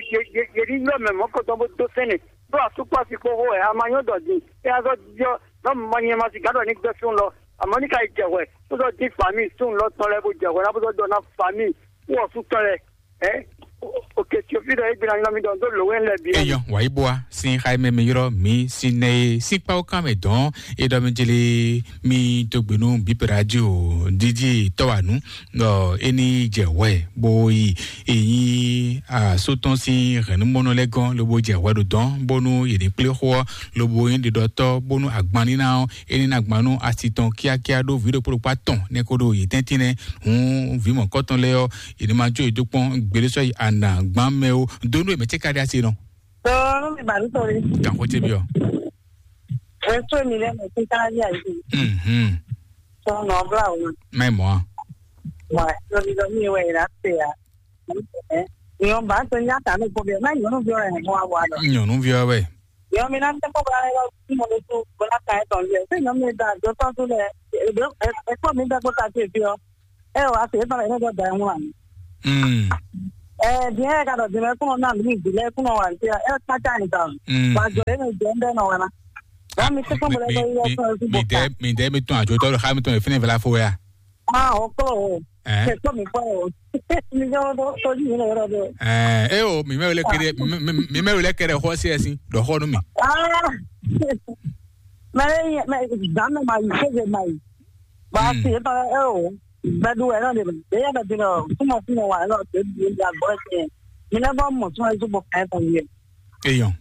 ní ylɔ́ mɛ mɔ̌kɔtɔn bó dó sɛ́nɛ ɖó asúkpási kpó xó wɛ a ma nyɔ́ dɔ din é ná zɔ́ jijɔ nɔ́ ma nyɛ ma si gǎn ɖɔ ní gbɛ́ fún lɔ àmọ́ ní ka yi jɛ hwɛ bó zɔ́ dín fami sún lɔ tɔn lɛ́ɛ bó jɛ hwɛ ná bó zɔ́ dɔ ná fami wú ɔ̀sú tɔn lɛ́ɛ ɛ òkè tí o fi ɖɔ é gbéra nyɔ́ mi ɖɔ dó lǒ wɛ lɛ bǐ. Eyɔ wàyí bua sin xayi mɛ mi yrɔ mi sin nɛ e sín kpawo kan mɛ dɔn e ɖɔ mi jeli mi dó gbe nú bíp radio dídí tɔwanu. Ɔ eni jɛ wɛ bo yi eyin asotɔn sin hɛnumɔnɔ lɛ gɔn lobo jɛ wɛ ɖo dɔn bónú yě ní kplé xó ɔ lobo yín ɖiɖɔtɔ bónú agban níná ɔ eni ná gban nú asi tɔn kíákíá ɖó vǐ ɖokpó ɖokpó atɔn nɛ ko ɖo yě tɛ́ntin nɛ. Hǔn vǐ mɔ̌kɔtɔn lɛ́ɛ ɔ́ yě ní ma jó yě dó kpɔ́n gbeɖésɔ yi ana gbán mɛ ó dó nú yě mɛ cé ka ɖe asi nɔ. Tó mi bàbí torí. Gàkó tẹ bí ọ. Ẹ tó mi lẹ́nu tí ká yà yìí. Mhm. Tó nà ọ́ bla òun. Mẹ mọ́ a. Wà lórí lọ mí wẹ̀ yìí láti yà. Ìyọ̀n bá tó ní àtàlù kó bẹ̀rẹ̀ náà yọ̀nù bí ọ̀rẹ́ yẹn wá wà lọ. Nyɔnu viɔ wɛ. Yɔ mi ná tɛ kɔ bla lɛ lɔ mɔ ɖe tu bla ka etɔn lɛ. Se nyɔ mi da do tɔn tu lɛ. E kɔ mi da kɔ ta tu fi ɔ. E wa se tɔn lɛ ne dɔ da mu ani. Mm. Eh, bien ka dɔ dime kuno na mi bi lɛ kuno wa ti. E ka ta ni ta. Mm. Wa jo e me je nde no wa na. Wa mi se ko bla lɛ yɔ tɔn tu bo ka. Mi de mi tɔn ajo tɔ ha mi tɔn e fini vla fo ya. Ah, o klo o. Eh. Se ko mi ko o. Mi jo do to ji ni ro do. Eh, e o mi me le kede mi me le kede ho se sin do ho nu mi. Ah. Mɛ mɛ zan mɛ ma yi sɛgɛ ma yi. Ba si e tɔ e o. Bɛ du wɛ nɔ de mɛ. E yɛ bɛ di nɔ kuma kuma wa nɔ de di di agbɔ tiɲɛ. Mi ne bɔ mɔ tún ɛzu bɔ kɛ tɔ yɛ. Eyɔn.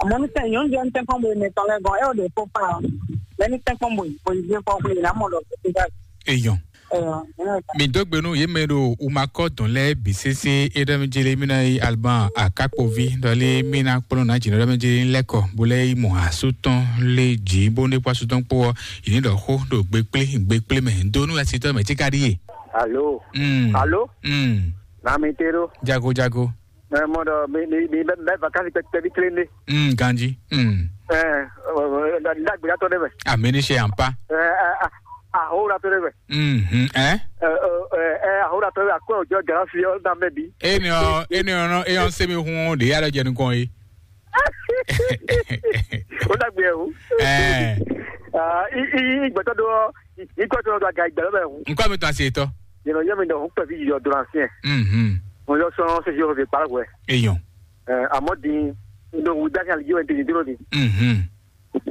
Àmọ́ ní sẹ́yìn oúnjẹ ń tẹ́kọ̀ bóyá mi tán lẹ́gàn ẹ̀ ò lè kó pa ọ́. Lẹ́ni tẹ́kọ̀ bóyá bóyá ìdí kọ́ bóyá ìlà mọ̀ lọ sí sígá. Eyɔn. Ẹ̀yọ̀ ẹ̀yọ̀. Mi dó gbe nú yě mɛ ɖo umakɔ dɔn lɛ bi sese e ɖɔ mi jele mi na yi alban akakpovi dɔ lé mi na kplɔn na jina ɖɔ mi jele lɛkɔ bo lɛ yi mɔ asu tɔn lé dzi bo ne kpɔ asu tɔn kpó ɔ yi ni ɖɔ xó ɖo gbe kplé gbe kplé mɛ do nú ɛsitɔ mɛ tí ka ɖi ye. Alo. Mm. Alo. Mm. Na mi te ɖo. Jago jago. Ɛ mɔ ɖɔ mi mi mi bɛ bɛ vakansi kpɛkpɛ bi kelen de. Mm, ganji. Mm. Ɛ ɛ ɛ ɖagbe ya tɔ de mɛ. Amini se ampa. Ɛ ɛ ɛ ahola tɔ de mɛ. Mhm. Ɛ. Ɛ ɛ ɛ ahola tɔ de mɛ akɔ jɔ gara fi ɔ na mɛ bi. Eni ɔ eni ɔ nɔ eyɔn semi hun de ya lɔ jɛ nukɔn ye. O dagbe o. Ɛ. Ah, i i i gbɛtɔ do ɔ i gbɛtɔ do aga i gbɛtɔ bɛ hu. Nkɔ mi tɔn se tɔ. Yɛlɛ yɛ mi dɔ hu pɛ fi yɔ do na fiɛ. Mhm. Mo yɔ sɔn sisi o fi kpalɛ wɛ. Eyɔn. Ɛ amɔ di ndo wu dasi ali yi wɛ di duro di. Mhm.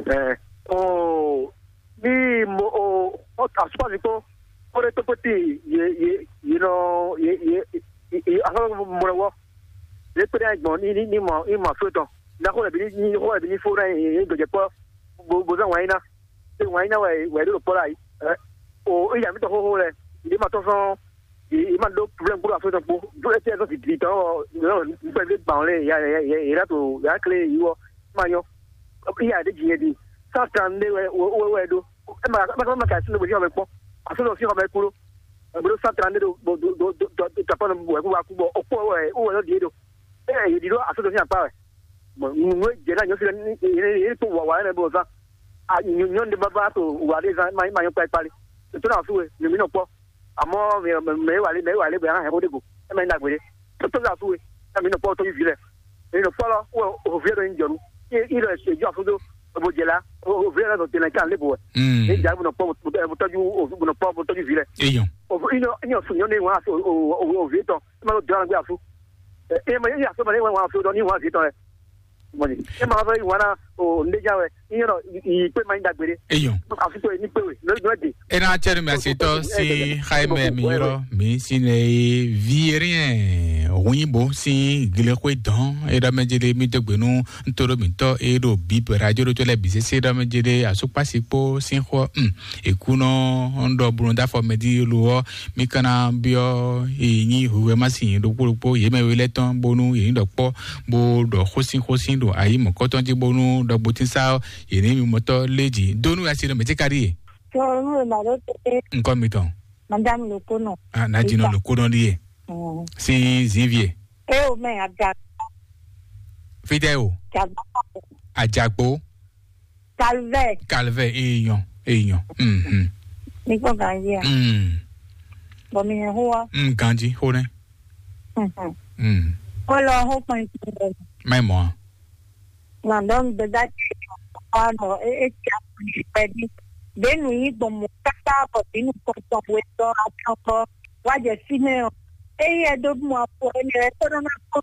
Ɛ o mi mo o o asopasi ko o de tokpoti ye ye ye nɔ ye ye ye asopasi mo lɛ wɔ ye kpe ɖe gbɔn ni ni ni mɔ ni mɔ aso tɔn na ko lɛ bi ni ni ko lɛ bi ni fo na ye ye gbɛjɛ kpɔ bo bo zan wɛn yi na se wɛn yi na wɛ wɛ ɖo kpɔ la yi ɛ o iya mi tɔ xoxo lɛ ye ma tɔ sɔn ye ma ɖo problème kpó aso tɔn kpó do etɛ sɔn titi tɔn ɔ nɔ nukpɛ bi gban lɛ ya ya ya ya to ya kle yi wɔ ma nyɔ iya de dzi yɛ di cent trente wɛ wɛ wɛ do ɛ ma ma ma ka si ne bo si xɔ mɛ kpɔ aso tɔn si xɔ mɛ kú do ɛ bo do cent trente do bo do do do do tapɔ nɔ wɛ kú wa kú bɔ o kpɔ wɛ o wɛ lɔ di do ɛ yě ɖi ɖó aso tɔn si akpa wɛ. Bon, nǔ e jɛ na nyɔ fi yɛ kpɔ wa wa yɛ bɔ zan. Nyɔ de baba to wa de zan ma ma nyɔ kpa kpali. To na su we, mi mi nɔ kpɔ. Amɔ mɛ mɛ wa le mɛ wa le bɛ an hɛ ko de go. E mɛ na gbe de. To to la su we. Na mi nɔ kpɔ to vi lɛ. Mi nɔ kpɔ lɔ o o vi lɛ do ni jɔnu. I i lɛ se jɔ afudo. Bo jɛ la o vi lɛ do tɛnɛ kan le bo. Mm. E ja bo nɔ kpɔ bo tɔju o bo nɔ kpɔ bo tɔju vi lɛ. Eyɔn. O i nɔ i nɔ su nyɔ ne wa o o o vi tɔ. E ma lo dɔn gbe afu. E ma ya so ma le wa afu do ni wa vi tɔ lɛ. Mɔni e ma fɛ wana o ndeja wɛ iye nɔ i pe ma nyi dagbe de. Eyɔn. Afi to ni pe we no no de. E na cɛ nu mi asetɔ si xayi mɛ mi yɔrɔ mi si ne ye vi rien hunyinbo si glexwe dɔn e ɖɔ mɛ jele mi dɔgbe nu ntoro mitɔ e ɖo bi radio ɖo to lɛ bi sese ɖɔ mɛ jele asukpasi kpo si xɔ um ekunɔ ŋɖɔ bunu dafɔ mɛ di lo ɔ mi kana biɔ e nyi huhwe ma si ɖokpo ɖokpo ye mɛ we lɛ tɔn bonu ye nyi ɖɔ kpɔ bo ɖɔ xósin xósin ɖo ayi mɔ̌kɔtɔn jí bónú ɖɔgbotín sá ɔ́, yě ní mimɔtɔ́ lé jǐ dó nú asi ɖɔ mɛ̌ cí ka ɖíe? Sɔrɔ nú e mǎ ɖó tete. Ŋkɔ mitɔn. Madame Lokono. Ah, Nadjino Lokono ɖíe. Mm. Sín zǐnvie. E o mɛ aga. Fítɛ́ o. Jagba. Àjàgbó. Calvert. Calvert, èèyàn, èèyàn. Mhm. Mi kpɔ́n ganji a? Mm. Bɔ mi hɛn xó wa. Mm, ganji, xó nɛ. Mhm. Mm. Kó lɔ xó kpɔn ikú rɛ. Má mɔ a? Nà dɔn gbɛdá ti wa nɔ e e ti a kuli pɛdi. Bɛ nu yi gbɔn mɔ kaka bɔ bi nu kɔntɔn we tɔ atɔn kɔ wa jɛ fi mɛ o. Eyi ɛ do mɔ afɔ ɛ lɛ ɛ tɔ nɔ na kɔ.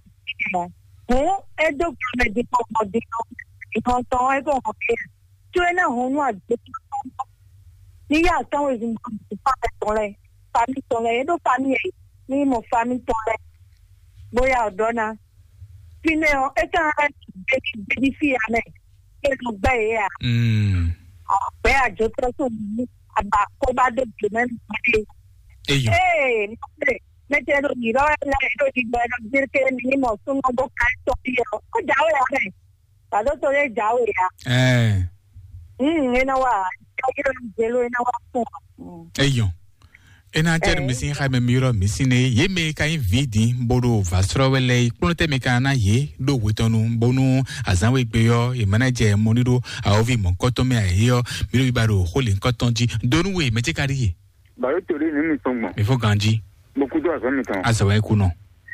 Hǔn é dó gbe mɛ ɖi kpɔkpɔ ɖi nɔ ɖi nɔ tɔn é kó hɔn ké. Có é ná hɔn nú àgbéjúmọ́ ní yá àtɔ́wé zun bɔ fámì tɔn lɛ fámì tɔn lɛ é ɖó fámì ɛ ní mɔ fámì tɔn lɛ bóyá ọ̀dọ́ ná. Fínɛ́ ɔ́, é ká ná gbéjí gbéjí fí ya mɛ é nɔ gbɛ́ yě a. Mm. Gbɛ́ àjọtọ́ tó mú àbá kó bá dé gbè mẹ́rin gbé. Eyàn. Ee, mọ́tẹ́ mẹ́tẹ́ ló yìí lọ́wọ́ ẹ̀ lẹ́yìn ló di gbọ́ ẹ̀ lọ gbé ké ní mọ̀ súnmọ́ bó ká tọ́ bí ẹ̀ ọ́ jáwé ya mẹ́. Pàdó torí ẹ̀ jáwé ya. Ẹ̀. Mm, ina wa, ina wa fún. Mm. Eyàn. Ena tɛ mi sin xa mɛ mi yɔrɔ mi sin ne ye mɛ ka yin vi din bodo va srɔ wɛ lɛ kplɔn tɛ mi ka na ye do wetɔnu bonu azan we gbe yɔ ye mana jɛ mɔni do awovi mɔ kɔtɔn mɛ ayi yɔ mi do ba do xo le kɔtɔn ji donu we mɛ tɛ ka di ye. Baro to de ni mi tɔn gbɔn. Mi fo ganji. Mo kudo azɔ mi tɔn. Azɔ wɛ ku nɔ.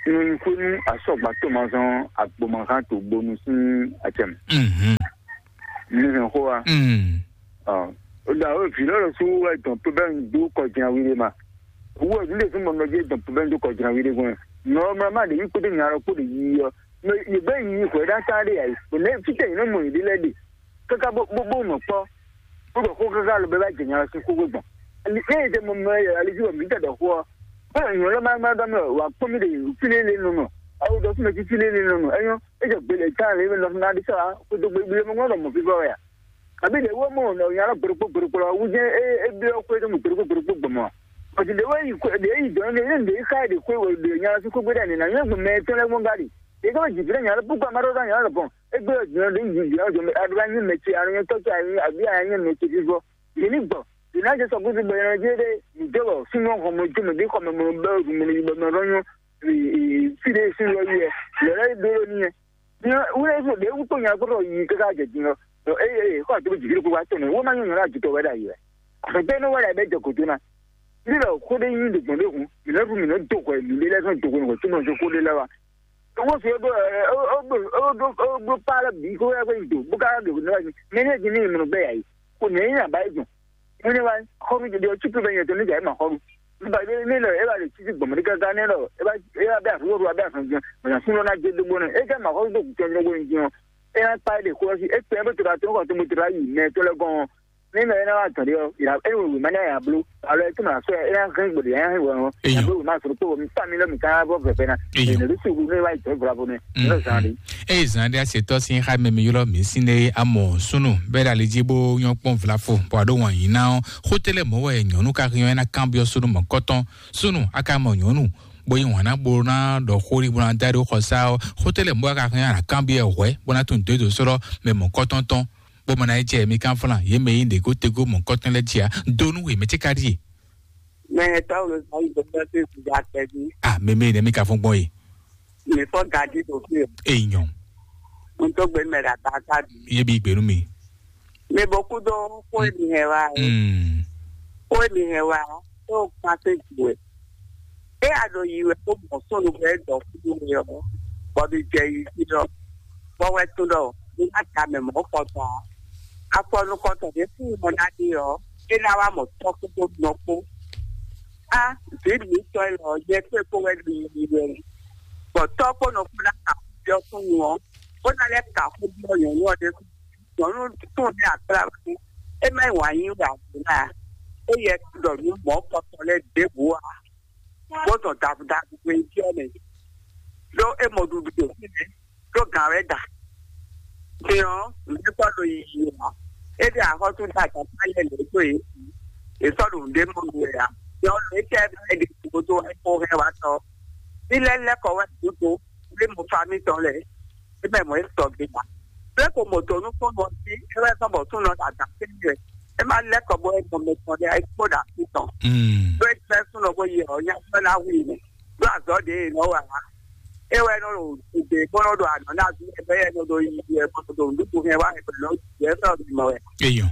Nunyikwenu asɔgba tomazɔn agbomazan to bonu sin acɛm. Mhm. Mi hɛn xo wa. Mm. Ɔ, o da o vi lɔ su wɛ dɔn pe bɛ n du kɔ jina wi de ma. Wo ni de fun mɔ nɔ je dɔn pe bɛ n du kɔ jina wi de gbɔn. Nɔ ma ma de yi kpo de nya lɔ kpo de yi yɔ. Mɛ yi bɛ yi hwɛ da ta de ayi. O ne fitɛ yi ne mɔ yi de lɛ de. Kaka bó bó bó nɔ kpɔ. Bó bɛ xó kaka lɔ bɛ ba jɛ nya lɔ si xó gbɔn. Ni e de mɔ mɛ yɛ ali ju mi tɛ dɔ xó. Bɛ nyɔ lɔ ma ma dɔ mɛ wa kpɔ mi de fili le nɔ nɔ. Awo dɔ fun mɛ ti fili le nɔ nɔ. Enyɔ e jɛ gbele ta le nɔ na di sa. Ko do gbele mɔ nɔ mɔ fi bɔ ya. Àbí ɖe wó mɔ nɔ nya lɔ gbeɖokpó gbeɖokpó lɔ wú jẹ́ é é byɔ́ xwé ɖé mɔ gbeɖokpó gbeɖokpó gbɔmɔ. Pɔtì ɖe wó yi xwé ɖe yi dɔn ɖe ɖe yi xa ɖe xwé wò ɖe nya lɔ sí xwé ɖe nǐ na nyɔ́ gbɔn mɛ tɔn lɛ gbɔn gari. Ɖe gbɔn jìbí ɖe nya lɔ búkú amá ɖɔ nya lɔ bɔn. É gbé ɔ̀dùn ɖe yi jìbí ɔ̀dùn mɛ aɖó bá nyí mɛ ce aɖó nyɛ tɔ́ ce aɖó àbí aɖó nyɛ mɛ ce fífọ́. Ɖe ní gbɔ. Ɖe ná jẹ sɔkúsú bɔ yɛn jẹ́ ɖe nìjẹ́ wɔ súnmọ́ xɔmɔ jó mɛ bí xɔmɔ mɔ bɛ ɖu mɔ yibɔ mɛ ɖɔ nyɔ. Fí ɖe sí yɔ yɛ lɛ lɛ ɖó ní yɛ. Wúlò fún ɖě wúkpó nya kpótó yi káká jɛ din ɔ́, ɖɔ eye eye xɔ àtúntò jìbìrì kó wá tɔnɔ wó má nyɔ́ nyɔ́ ná jitɔ wɛ ɖ'ayǐ wɛ. Àfẹ́gbẹ́ ní wɛ ɖ'ayǐ bɛ jɛ gǒdo ná. Ní lɔ xó ɖé nyí ɖo gbɔn ɖé hun, mǐ nɔ́ ɖu mǐ nɔ́ do hwɛ mǐ ɖé lɛ́ɛ sɔ́ do hwɛ nǔgbó tún nɔ jó xó ɖé lɛ́ɛ wá. Wọ́n fi ó ɖó ó bló pá lɛ bǐ kó wɛ kó nyi do bó ká ɖo nǔ wɛ mɛ ní ɛdí ní mǐ nɔ bɛ yà yìí. Kò ní nyí àbá yìí gbɔn. Mwenye wa xɔnu jɛ ɖe ɔtí pé bɛ nyɛ tɔn ní jà ema xɔnu. Nígbà yìí ní lọ ẹ bá lè títí gbọmọ ní gángan ní lọ ẹ bá ẹ bá bẹ àfúrò ẹ bá fún jẹ mọ̀nà fún lọ́nà jẹ dógbó náà ẹ jẹ́ màá xɔnu tó kùtẹ́ ní ọgbọ́n jẹun. Ẹ yà pa ẹ lè kó ẹ sí ẹ pẹ́ ẹ bẹ tó ra tó kàn tó mo tó ra yìí mẹ tó lẹ gan. Ní lọ ẹ náà wà tàn dé ọ ìlà ẹ wò wò má ní àyà bló àlọ́ ẹ tó màá sọ ẹ yà hẹ́n gbọdọ̀ ẹ yà hẹ́n wọ̀ ẹ yà bló wò má sọ̀rọ̀ pé wọ́n mi tà mí lọ́mì tá bọ́ fẹ̀fẹ́ náà. Ẹ nà ló sì wù ní wáyé tẹ́ ìfura fún mi. Ní lọ́sàn-án rí. Eye zan ɖe asetɔ sin xa mɛ mi ylɔ mi sin ɖe amɔ sunu bɛ ɖe ali dzi bo nyɔ kpɔn vlafo bɔ aɖo wɔn yi na ɔ xotele mɔ wɛ nyɔnu ka hiɔ ena kan biɔ sunu mɔ kɔtɔn sunu aka mɔ nyɔnu bo yi wɔn na bo na ɖɔ xori bo na da ɖo xɔsa ɔ xotele mɔ aka hiɔ ana kan biɔ hwɛ bo na tun do do srɔ mɛ mɔ kɔtɔn tɔn bo mɔ na yi jɛ mi kan flan ye mɛ yi ɖe go tego mɔ kɔtɔn lɛ dzia donu we mɛ tse ka ɖi. Mɛ tɔw lo zan yi gbɛgbɛ to ìgbà tɛbi. Ah, mɛ mɛ ne mi ka fún gbɔn ye. Mi fɔ gadi ɖo fi o. Eyi nyɔ. N tó gbé mɛ ɖa ta ta bi. Ye bi gbenu mi. Mi bɔ kú dó kó èmi hɛn wa o. Mm. Kó èmi hɛn wa o. Tó kpán sí ju ẹ̀. É a ɖo yi wɛ kó mɔ sónu bɛ dɔ kúdú mi ɔ. Bɔ mi jɛ yi sí lɔ. Bɔ wɛ tún ɖɔ mi má ta mɛ mɔ kɔtɔn. Afɔnukɔtɔn ɖé fún mi mɔ ná ɖi ɔ. É ná wá mɔ tɔ́ kpódó nɔ kpó. Á, vǐ mǐtɔn élɔ́, nyɛ kpé kpó wɛ ɖo yiyi wɛ. Bɔ tɔ́ kpó nɔ kpó ná ka xó byɔ́ súnnu ɔ́, bó ná lɛ́ ka xó byɔ́ nyɔ̌nu ɔ́ ɖésú. Nyɔ̌nu tún ní akplá wɛ. É má nyí wǎn yí wɛ ǎ. É yɛ ɖɔ nǔ mɔ̌ kɔtɔn lɛ́ɛ ɖěbǔ ǎ. Bó zɔn davudavu hwe byɔ́ mɛ. Ɖó é mɔ ɖuɖu ɖo fínɛ́, ɖó gǎn wɛ da. Din ɔ́, nǔɖé kpɔ́ ɖo yiyi ǎ. É ɖe axɔ́sú ɖe agǎn lɛ́ɛ lě dó yě. È sɔ́ ɖo nǔɖé mɔ nú wɛ ǎ. Din ɔ́, lě tɛ́ é ɖe gúdo wɛ kó hɛn wá tɔ́. Ní lɛ́ lɛ́ kɔ wɛ gǔdo, lé mo fa mítɔn lɛ́ɛ. É mɛ mɔ̌ é sɔgbe ǎ. Lé ko mɔ dɔ̌ nú kpɔ́nɔ ɔ́ jí, é wɛ zɔ́n bɔ súnnu ɔ́ da da kpé n'i wɛ. É má lɛ́ kɔ bɔ é mɔ mɛ tɔn lɛ́ɛ é kpó ɖo así tɔn. Ɖó é jlɛ́ súnnu ɔ́ bó yi ɔ́, nya sɔ́ ná hu i mɛ. Ɖó azɔ̌ ɖě è nɔ wa ǎ. É wɛ nɔ ɖo gbe bó nɔ ɖo anɔ̌ ná ví ɛ bɛ́ yɛ nɔ ɖo yi ɛ bó nɔ ɖo nǔɖuɖu hɛn wá ɛ bɛ́ nɔ ɖu ɛ sɔ́ bǐ mɔ wɛ. Eyɔn.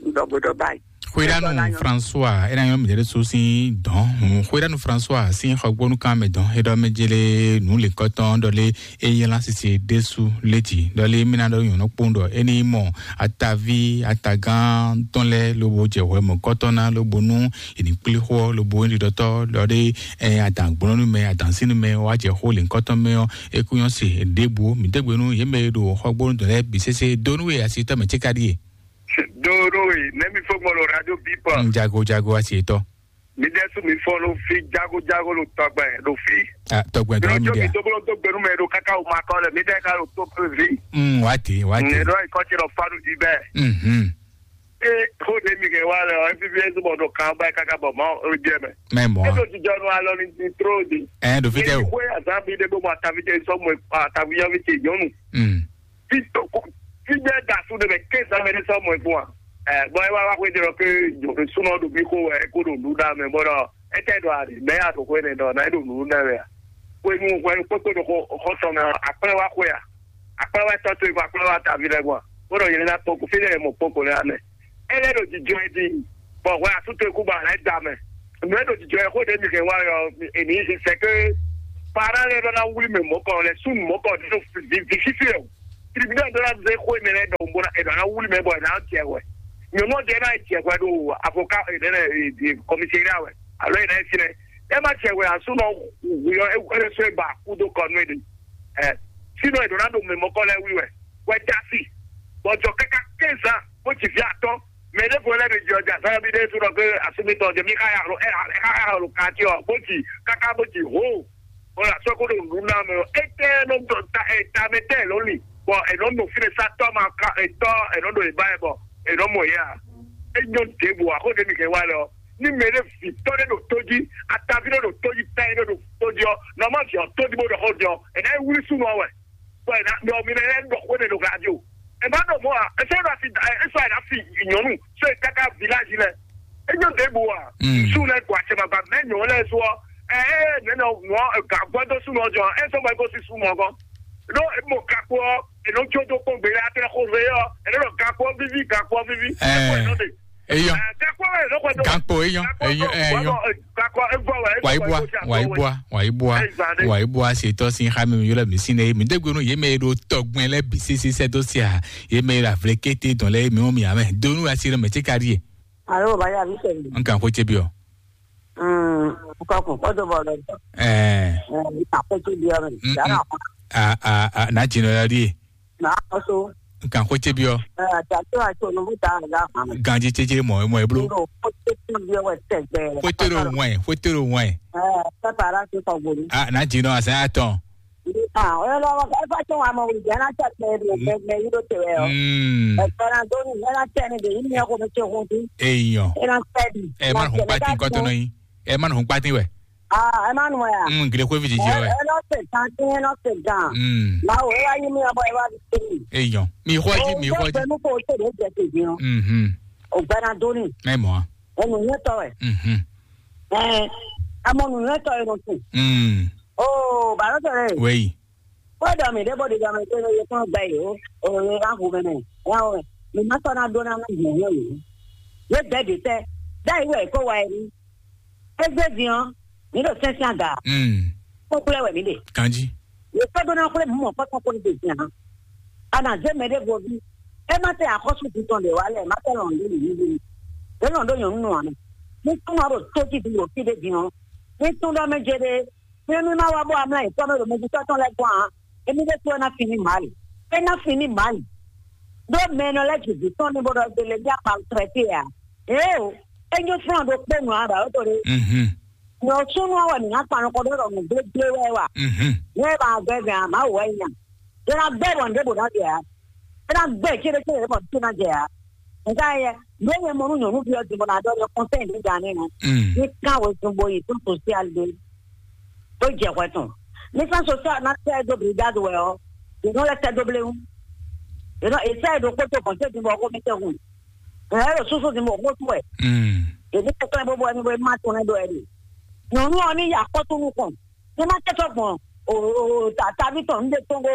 Ŋdɔgbedɔ báyìí. Xwéɖánu François, é ná nyɔ́ mǐɖée ɖésú sín dɔ̌n. Xwéɖánu François sín xɔgbónúkan mɛ dɔ̌n, é ɖɔ mɛ jélé nǔ lěkɔ́tɔn ɖɔ lé é nyí lásìsì ɖésú létí ɖɔ lé mí ná ɖɔ nyɔ̌nu kpowun ɖɔ é ní mɔ ataví atagán tɔn lɛ́ɛ lobo jɛ hwɛ mɔ̌kɔtɔn ná lobo nú è ní kplé xó ɔ́ lobo é ɖiɖɔtɔ́ ɖɔ ɖé ɛ adǎngbɔ́nú mɛ adǎnsínu mɛ wá jɛ xó lěkɔ́tɔn mɛ ɔ́ é kú nyɔ́ se ɖěbǔ mǐ dégbe nú yě mɛ e ɖo xɔgbónú dɔ̌n lɛ́ɛ bǐ sésé dó nú we asitɔ́ mɛ céka ɖíe. Dó nú we nɛ́ mi fó gbɔn ɖo radio bípɔ. Jago jago asitɔ́. Mi ɖe su mi fɔ lo fi jago jago lo tɔgbɛ lo fi. Ah, tɔgbɛ dɔrɔn mi ɖe a. Mi tó bolo tó gbenu mɛ ɖo kaka o ma kɔ lɛ mi ɖe ka lo tó pe vi. Mm, wati wati. Ne ɖo ikɔ tsi lɔ fa ɖo di bɛ. Mhm. E ko ne mi kɛ wa lɛ ɔ efi fi esu bɔ ɖo kan ba kaka bɔ ma o jɛ mɛ. Mɛ mɔ. E ɖo jijɔ nu alɔ ni ni tro di. Ɛ ɖo fi tɛ o. Xwe azan bi ɖe bó ma ta fi tɛ sɔmɔ ta fi yɔ fi tɛ nyɔnu. Mm. Fi to ko fi bɛ da su de bɛ ke zan mɛ ne sɔmɔ fún wa. Ɛ bɔn e wa wa xwe de lɔ ke sunɔ ɖo mi ko wɛ ko ɖo nu ɖa mɛ bɔ ɖɔ. Étɛ́ ɖɔ a ɖe mɛ ya ɖo xwé nɛ́ ɖɔ ná é ɖo nǔ nɛ́ wɛ a? Xwenu hwenu kpókpó ɖo xɔ xɔ tɔn mɛ ɔ́, akplɛ́ wá xwé a? Akplɛ́ wá tɔ́ towe kpó akplɛ́ wá taví lɛ́ɛ gbɔn a? Bó ɖɔ yě ná kpɔ́n kó fí lɛ́ɛ mɔ kpɔ́n kó lɛ́ɛ amɛ. É lɛ́ ɖo jijɔ ɛ din, bɔ hwɛ asú towe kú ba lɛ́ da mɛ. Nǔ e ɖo jijɔ ɛ xó ɖě mi hɛn wá ɔ́, èmi sɛ ké pará lɛ́ɛ ɖɔ ná wlí mɛ mɔ̌kɔ lɛ́ɛ súnnu mɔ̌kɔ ɖě ɖo vǐ fífí ɛ o. Tribunal ɖó ná zé xó énɛ́ lɛ́ɛ ɖɔhun bó ná è nɔ ná wlí mɛ bɔ è nǎ jɛ hwɛ. Nyɔ̌nu ɔ́ ɖe ná yi jɛ hwɛ ɖo avocat è nɛ́ lɛ́ kɔmisiria wɛ alo è nǎ yi fínɛ́. É má jɛ hwɛ ǎ súnɔ hwi ɔ́ é hwɛ́ sɔ́ é ba kú dó kɔ nú é ɖe. Ɛ sínɔ è nɔ ná ɖo mɛ mɔkɔ lɛ́ɛ wlí wɛ. Hwɛ dó asi bɔ jɔ káká quinze ans bó ji vǐ atɔ́. Mɛ ɖěvo lɛ́ɛ ɖo jɛ ɔ́ jɛ azɔ́ yɔ́ bí ɖé súnɔ ké asúmítɔ́ jɛ mí ká ya alo ɛ ká ya alo kati ɔ́ bó ji káká bó ji hoo. Bɔ la sɔ́ kó ɖo nǔ ná mɛ ɔ́, étɛ́ nɔ dɔ ta ɛ tamɛ tɛ lɔ li, bɔ è nɔ nɔ fínɛ sa tɔ́ ma ka etɔ́ è nɔ ɖo ìbá ɛ bɔ è nɔ mɔ yɛ a? É nyɔ́ ɖěbǔ a xó ɖé mi hɛn wá lɛ ɔ́, ní mɛ ɖé vǐ tɔ́ ɖé ɖo tó jí, ataví ɖé ɖo tó jí, tɛ́ ɖé ɖo tó jí ɔ́, nɔ má vǐ ɔ́ tó jí bó ɖɔ xó jɔ, è nǎ yi wlí súnnu ɔ́ wɛ, bɔ è nǎ ɖɔ mi nɛ́ ɖɔ xó ɖé ɖo radio. È má ɖɔ mɔ̌ a? È sɔ́ ɖo asi è sɔ́ è nǎ fi nyɔ̌nu sɔ́ è káká village lɛ. É nyɔ́ ɖěbǔ a? Mm. Súnnu lɛ́ɛ gbɔ acɛ baba mɛ nyɔ̌nu lɛ́ɛ sɔ ɛ ɛ nɛnɛ nɔ gǎgbɔ́ dó súnnu ɔ́ jɔ ɛ sɔ́ bɔ é gosín súnnu ɔ́ gɔ́n. Ɖó mɔ gakpo ɔ́, è nɔ jó dó kpɔ́n gbé lɛ́ɛ atɛ́ xó ve ɔ́, è nɔ ɖɔ gakpo ɔ́ víví, gakpo ɔ́ víví. Ɛ, Gakpo ɛ nɔ ɖe. Eyɔn. Ɛ, gakpo ɔ́ è nɔ xwɛ dó. Gakpo eyɔn, Gakpo eyɔn, ɔ́, eyɔn. Gakpo ɔ́, é vɔ wɛ, é vɔ wɛ, Wàyíbúa, é vɔ wɛ. Wàyíbúa, Wàyíbúa, Ɛ, zan ɖe. Wàyíbúa ṣètò sí xámi mi yọlẹ mi sí ne mi dégbénu yé mɛ ɖo tɔgbɛn lɛ bisi sísẹ dó sia yé mɛ ɖo avlɛ kété dɔn lɛ mi wọn mi amɛ donu asi ɖe mɛ tí ka ɖi yé. Alo, baya mi sɛ mi. N kan xó tse bi ɔ. Mm, kɔkun kɔdo bɔ lɛ. Ɛɛ. Ɛɛ, akɔtɔ bi ɔ mi. Mm, Yàrá mm. A a a na dzi nɔ ya ɖi yé. Na kɔso. N kan xó tse bi ɔ. Ɛɛ, tatu ato nubu ta nga hàn. Ganji tse tse mɔ mɔ eblo. Ndo kɔtɔ tse bi ɔ wɛ tɛgbɛ. Xótó ɖo wɛn, xótó ɖo wɛn. Ɛɛ, pɛpɛ ara ti kɔ gbolu. A na dzi nɔ azan atɔn. Ah, ɔyɔ lɔ ɛ fa tɔn wa mɔ wuli jana tɛ tɛ mɛ mɛ yi ɖo te wɛ ɔ. Mm. Ɛ fɛrɛ do ni ɛ na tɛ ni de yi mi ko mi tse hun ti. Eyɔn. Ɛ na tɛ di. Ɛ ma hun kpati nkɔtɔ nɔ yi. Ɛ ma hun kpati wɛ. Ah, ɛ ma nu ya. Mm, gile xwe vi jiji wɛ. Ɛ nɔ se gan ti ɛ nɔ se gan. Mm. Ma wo ɛ wa yi mi ɔ bɔ ɛ wa di se mi. Eyɔn. Mi xɔ ji, mi xɔ ji. Ɛ nu ko se de jɛ te di ɔ. Mhm. O gbɛna do ni. Ɛ mɔ. Ɛ nu nyɛ tɔ wɛ. Mhm. Ɛ, ɛ mɔ nu nyɛ tɔ ɛ nɔ se. Mm. Oo, bàlọ́ tẹ̀lé. Wẹ́yì. Kódà mi ɖé bó ɖi dɔmɛ tó yẹ kó gbɛ yìí o, o yẹ ká hu mɛ mɛ, ẹ yà wò mɛ. Mi má sɔ́ ná ɖó ná má gbɔn yẹ yìí. Yé bɛ́ ɖě tɛ́, dá yìí wɛ kó wa yẹ ní. É zé din ɔ́, mi ɖo sɛ́nsɛ́n aga. Mm. Kó kplɛ́ wɛ mi ɖe. Kanji. Yě kó ɖó ná xwlé mú mɔ kpɔ́tɔ́ kó ní ɖe din ǎ. A nǎ zé mɛ ɖé vo ví. É má tɛ axɔ́sú din tɔn ɖě wá lɛ, má tɛ lɔn ɖó nǔ nú mi. É lɔn ɖó nyɔ̌nu nɔ ǎ mɛ. Ní kún ná ɖo tó jí din ɖo fí ɖé din ɔ́. Ní tún ɖɔ mɛ jɛ ɖé. Mímí má wá bó amlá yětɔn mɛ ɖo mɛjitɔ́ tɔn lɛ́ɛ gɔ́n ǎ. Émí ɖésú wɛ ná fin ní Mali. É ná fin ní Mali. Ɖó mɛ e nɔ lɛ́ ji vǐ tɔn ní bó ɖɔ gbélé ní akpa trɛtí ǎ. Éeǒ, é nyí flɔ́n ɖokpó nǔ ǎ ɖɔ tó ɖé. Mhm. Nyɔ súnú ɔ́ wɛ mǐ ná kpan nukɔn ɖó ɖɔ nǔgblégbé wɛ wa. Mhm. Ní ɛ ba gbɛ gǎn ǎ, Mawu wɛ é nya. É ná gbɛ bɔ nǔɖé bǒ ná jɛ ǎ. É ná gbɛ céɖécéɖé bɔ nǔɖé ná jɛ ǎ. Nka yɛ, nǔ e nyɛ mɔ nú nyɔ̌nuví ɔ́ din bɔ ná ɖɔ nyɛ kɔnsɛ́n ɖě gǎn nɛ́ nɛ́. Mm. Ní kán wezun bo yi tó sosial ɖé. Tó jɛ hwɛ tɔn. Ní sán sosial ná tɛ dó brigade wɛ ɔ́, yě nɔ lɛ́ tɛ dó bléwún. Yě nɔ è sɛ ɖo kpótó kɔnsɛ́n din bɔ xó mi tɛ hun. Ɛ ɖo súsú din bɔ xó tún wɛ. Mm. Yě ní tɛ klɛ́ bó bɔ ɛni bɔ é má tún nɛ́ ɖó ɛni. Nyɔ̌nu ɔ́ ní yi akɔ́tún nukɔn. Ní má tɛ sɔ́ gbɔn o o o ta taví tɔn ní ɖe tɔn kó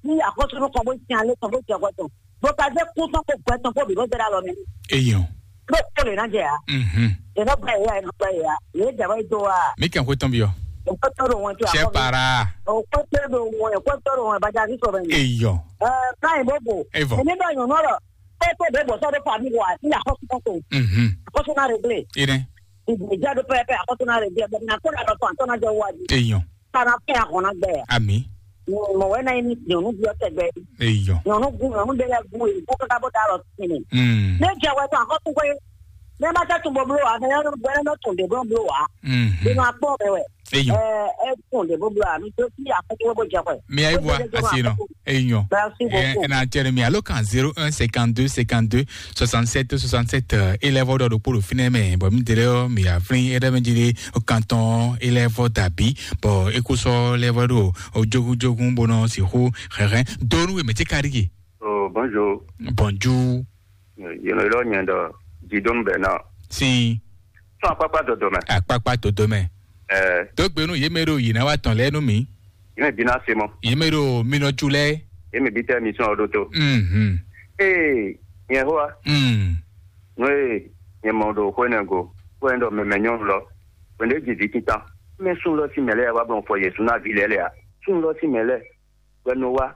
ní axɔ́súnú kɔn bó sin alé tɔn bó jɛ hwɛ tɔn bó ka zé kú tɔn kó gbɛ tɔn kó bǐ bó zé ɖo alɔ mɛ. Eyɔn. Bó kó lè ná jɛ ya. Mhm. Yě nɔ gbɛ yě ya, yě nɔ gbɛ yě ya. Yě jɛ wɛ do wa. Mi kàn kó tɔn bi ɔ. O kó tó do wọn tí a Sɛ kɔ mi. Para. O kó tó do wọn, o kó tó do wọn, bàjá ní sọ bẹ́ẹ̀ ni. Eyɔn. Ɛ báyìí bó bò. Evɔ. Èmi bá yàn náà lọ. Kó tó dé bò sọ́dọ̀ fàmí wa, ní axɔ́súnú kò. Mhm. Axɔ́súnú réglé. Ine. Ìgbìjà ló pẹ́ pẹ́ àkọ́tún náà rẹ̀ bí ẹgbẹ́ náà kó lànà tó àtọ́nà jẹ́ wájú. Eyɔn. Kana fẹ́ àkànná gbẹ. Àmì. Mọ̀ wẹ́ náà ní nyɔ̀nú bí ọ̀tẹ̀ gbẹ. Eyɔn. Nyɔ̀nú gun nyɔ̀nú bẹ́ẹ̀ gun èyí kó kọ́kọ́ bó dá lọ sí ni. Mm. Ní jẹ́ wẹ́ tó àkọ́tún pé ní ẹ bá tẹ́ tún bọ̀ bolo wa ní ẹ bẹ́ẹ̀ náà tún dé bọ̀ bolo wa. Mhm. Inú akpọ̀ bẹ̀ wẹ̀. Eyɔn. Ẹ ẹ tún dé bọ̀ bolo wa mi tó sí àkọ́tún bó jẹ wẹ̀. Mi ayé bua asi nɔ. Eyɔn. Merci beaucoup. Ɛ na tɛrɛ mi alo kan zéro un cinquante-deux cinquante-deux soixante-sept soixante-sept. Élève ɖɔ ɖokpó ɖo fínɛ́ mɛ bɔ mi délé ɔ mi aflin éɖe mɛ dzi ɖe kantɔn élève dàbí bɔ ékúsɔ élève ɖo ojogunjogun bonɔ sixu hɛhɛ donu wɛ mɛ tí ka ɖi ke. Oh, bonjour. Bonjour. Yéno ilɔ nyɛ dɔ Didon Bernard. Si. Tɔn akpakpa dɔdɔ mɛ. Akpakpa dɔdɔ mɛ. Ɛɛ. Dó gbe nú yě mɛ ɖo yǐ ná wá tɔn lɛ́ɛ nú mǐ. Yě mɛ bí ná se mɔ. Yě mɛ ɖo minɔjú lɛ́ɛ. Yě mɛ bí tɛ mi sɔn ɔdó tó. Mhm. Ee, nyɛ hoa. Mm. Nú ee, nyɛ mɔ ɖo xwé nɛ go. Xwé nɛ ɖɔ mɛmɛ nyɔnu lɔ. Xwé nɛ ji vǐ títàn. Mɛ sún lɔ sí mɛ lɛ́ɛ wá blɔn fɔ Yɛsu ná vǐ lɛ́ɛ lɛ a? Sún lɔ sí mɛ lɛ́ɛ. Gbɛ nɔ wá.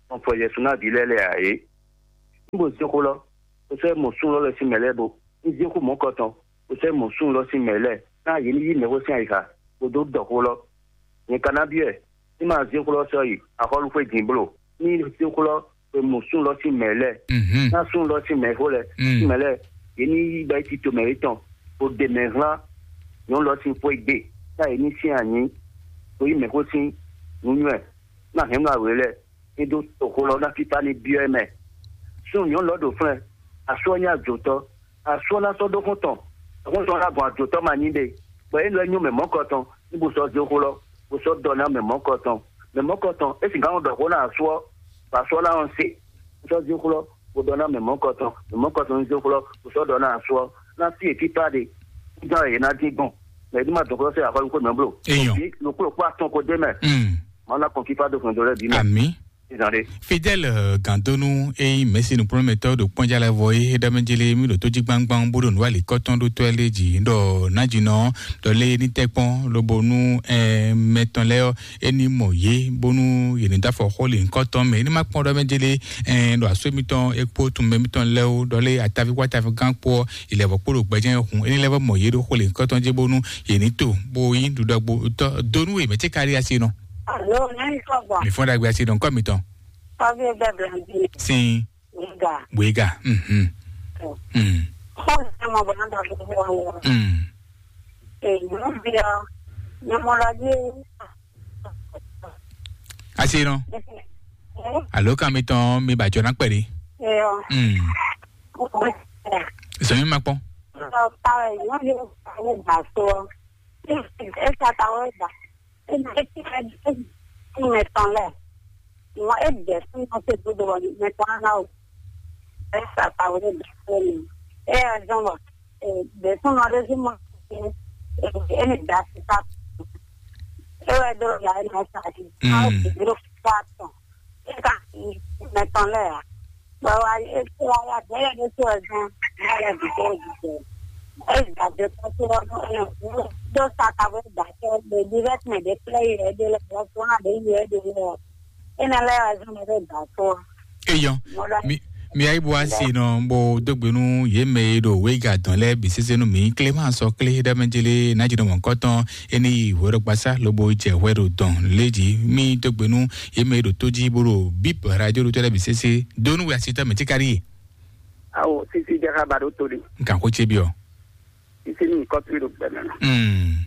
Blɔn fɔ Yɛsu ná vǐ lɛ́ɛ lɛ a é? Níbo zé xó lɔ? Kò sɔ́ mɔ sún lɔ lɛ́ɛ sín mɛ lɛ́ɛ bo. Un zé xó mɔ̌kɔtɔn, kò sɔ́ mɔ sún lɔ sín mɛ lɛ́ɛ, ná yě ní yí mɛxó sín ayixa, bó dó ɖɔ xó lɔ. Nyɛ ka ná byɔ́ ɛ, ní ma zé xó lɔ sɔ́ yi axɔ́lúxwé din bló, ní zé xó lɔ e mɔ sún lɔ sín mɛ lɛ́ɛ, ná sún lɔ sín mɛxó lɛ́ɛ, sín mɛ lɛ́ɛ, yě ní yí bɛ́ tito mɛ yětɔn, bó ɖe mɛ hlán nyɔ̌nu lɔ sín xwé gbe, ná yě ní syɛ́n anyǐ, bó yí mɛxó sín nǔnywɛ́, ná hɛn nú awě lɛ́ɛ, ní dó toxo lɔ ná fífá ní byɔ́ ɛ mɛ. Súnnu nyɔ̌nu lɔ ɖo flɛ́n, asú ɔ́ nyí ajotɔ́, asú ɔ́ ná sɔ́ ɖó xɔ́ntɔn, xɔ́ntɔn ɔ́ ná gbɔn ajotɔ́ ma nyí ɖe, bɔ é lɔ nyɔ́ mɛ mɔ̌kɔtɔn, ní bó sɔ́ zé xó lɔ, bó sɔ́ ɖɔ ná mɛ mɔ̌kɔtɔn. Mɛ mɔ̌kɔtɔn, é sixá nɔ ɖɔ xó ná asú ɔ́, bɔ asú ɔ́ ná nɔ se, bó sɔ́ zé xó lɔ, bó ɖɔ ná mɛ mɔ̌kɔtɔn, mɛ mɔ̌kɔtɔn ní zé xó lɔ, bó sɔ́ ɖɔ ná asú ɔ́, ná sí e fífá ɖe, kúdán e yě ná dín gbɔn, mɛ ní ma dɔn xó sɛ́ axɔ́ kó mɛ bló. Eyɔn. Lǒkplɔ́kpó atɔn ko ɖ'é mɛ. Mm. Mawu ná kɔn fífá dó hwɛndo lɛ́ɛ bǐ mɛ. Àmín. Ìzàn ɖe. Fidèle, eh, Gandonu e nyí mɛ̌si nukplɔ́nmɛtɔ́ ɖo kpɔ́njá lɛ́ɛ vɔ é, é ɖɔ mɛ jélé mì ɖo tójígbángbán bó ɖo nǔ alikɔ́tɔn ɖó tɔ́ lé jǐ ɖɔ nájínɔ ɖɔ lé ní tɛ́ kpɔ́n lobo nú, eh, mɛ tɔn lɛ́ɛ ɔ́, é ní mɔ yě bónú yě ní dó afɔ xó lǐnkɔ́tɔn mɛ. É ní má kpɔ́n ɖɔ mɛ jélé, eh, ɖo asó mitɔn é kpó tunmɛ mitɔn lɛ́ɛ ó, ɖɔ lé ataví kpó ataví gán kpó ɔ́, ilɛ̌vɔ́ kpó ɖo gbɛjɛ́ hun. É ní lɛ́ vɔ́ mɔ yě ɖo xó lǐnkɔ́tɔn jí bónú yě ní to bó nyí ɖuɖɔgbó tɔ́ donu e mɛ ce ka ɖi asi nɔ. Alo, nyɛmi kɔ gbɔ. Mi fɔn ɖagbe asi nɔ nkɔ mitɔn. Kɔvi bɛ Blanchine. Sin. Wiga. Wiga. Mhm. Mm. Xɔ ne mɔ bɔ na dɔ fún wa wɔ. Mm. E nu bi ɔ, ne mɔ la di. Asi nɔ. Alo kan mitɔn mi ba jɔ na kpɛɖi. Eyɔ. Mm. Zɔn mi ma kpɔn. Ɔ, ta wɛ, nyɔnu yɛ ta wɛ ba so. E sa ta wɛ ba. E na e ti ka di e mɛ tɔn lɛ. Mɔ e bɛ fún mɔ se dodo wɔ mɛ tɔn na o. E sa ta wɛ ba so ni. E ya zɔn wɔ. E bɛ fún mɔ de si mɔ. E ni da si sa. E wɛ do ya e na sa di. Mm. Awo bi dro fa tɔn. E ka mɛ tɔn lɛ ya. Bɔ wa e wa ya bɛlɛ ɖé to ɛ gan, wa ya bi ko di jɛ. E da de ko to ɔ no e no do sa ka bo da ke de direct me de play e de le bɔ so na de ye de le. E na lɛ wa zun me de da so. Eyɔn, mi mi ayi bo asi nɔ bo dogbe nú yě mɛ e ɖo wéga dɔn lɛ́ɛ bǐ sésé nú mi. Clément sɔ clé ɖɔ mɛ jélé ná jínɔ mɔ̌kɔtɔn, é ní yi hwɛɖɔgbasá lobo jɛ hwɛ ɖo dɔn lé jí. Mi dogbe nú yě mɛ e ɖo tó jí bó ɖo bíp radio ɖo tó lɛ́ɛ bǐ sésé. Dó nú we asitɔ mɛ tíkárí e. Awo sisi jaka ba ɖo to ɖi. Nkan xó ce biɔ. Sisi ní kɔtri ɖo gbɛmɛ nɔ. Mm.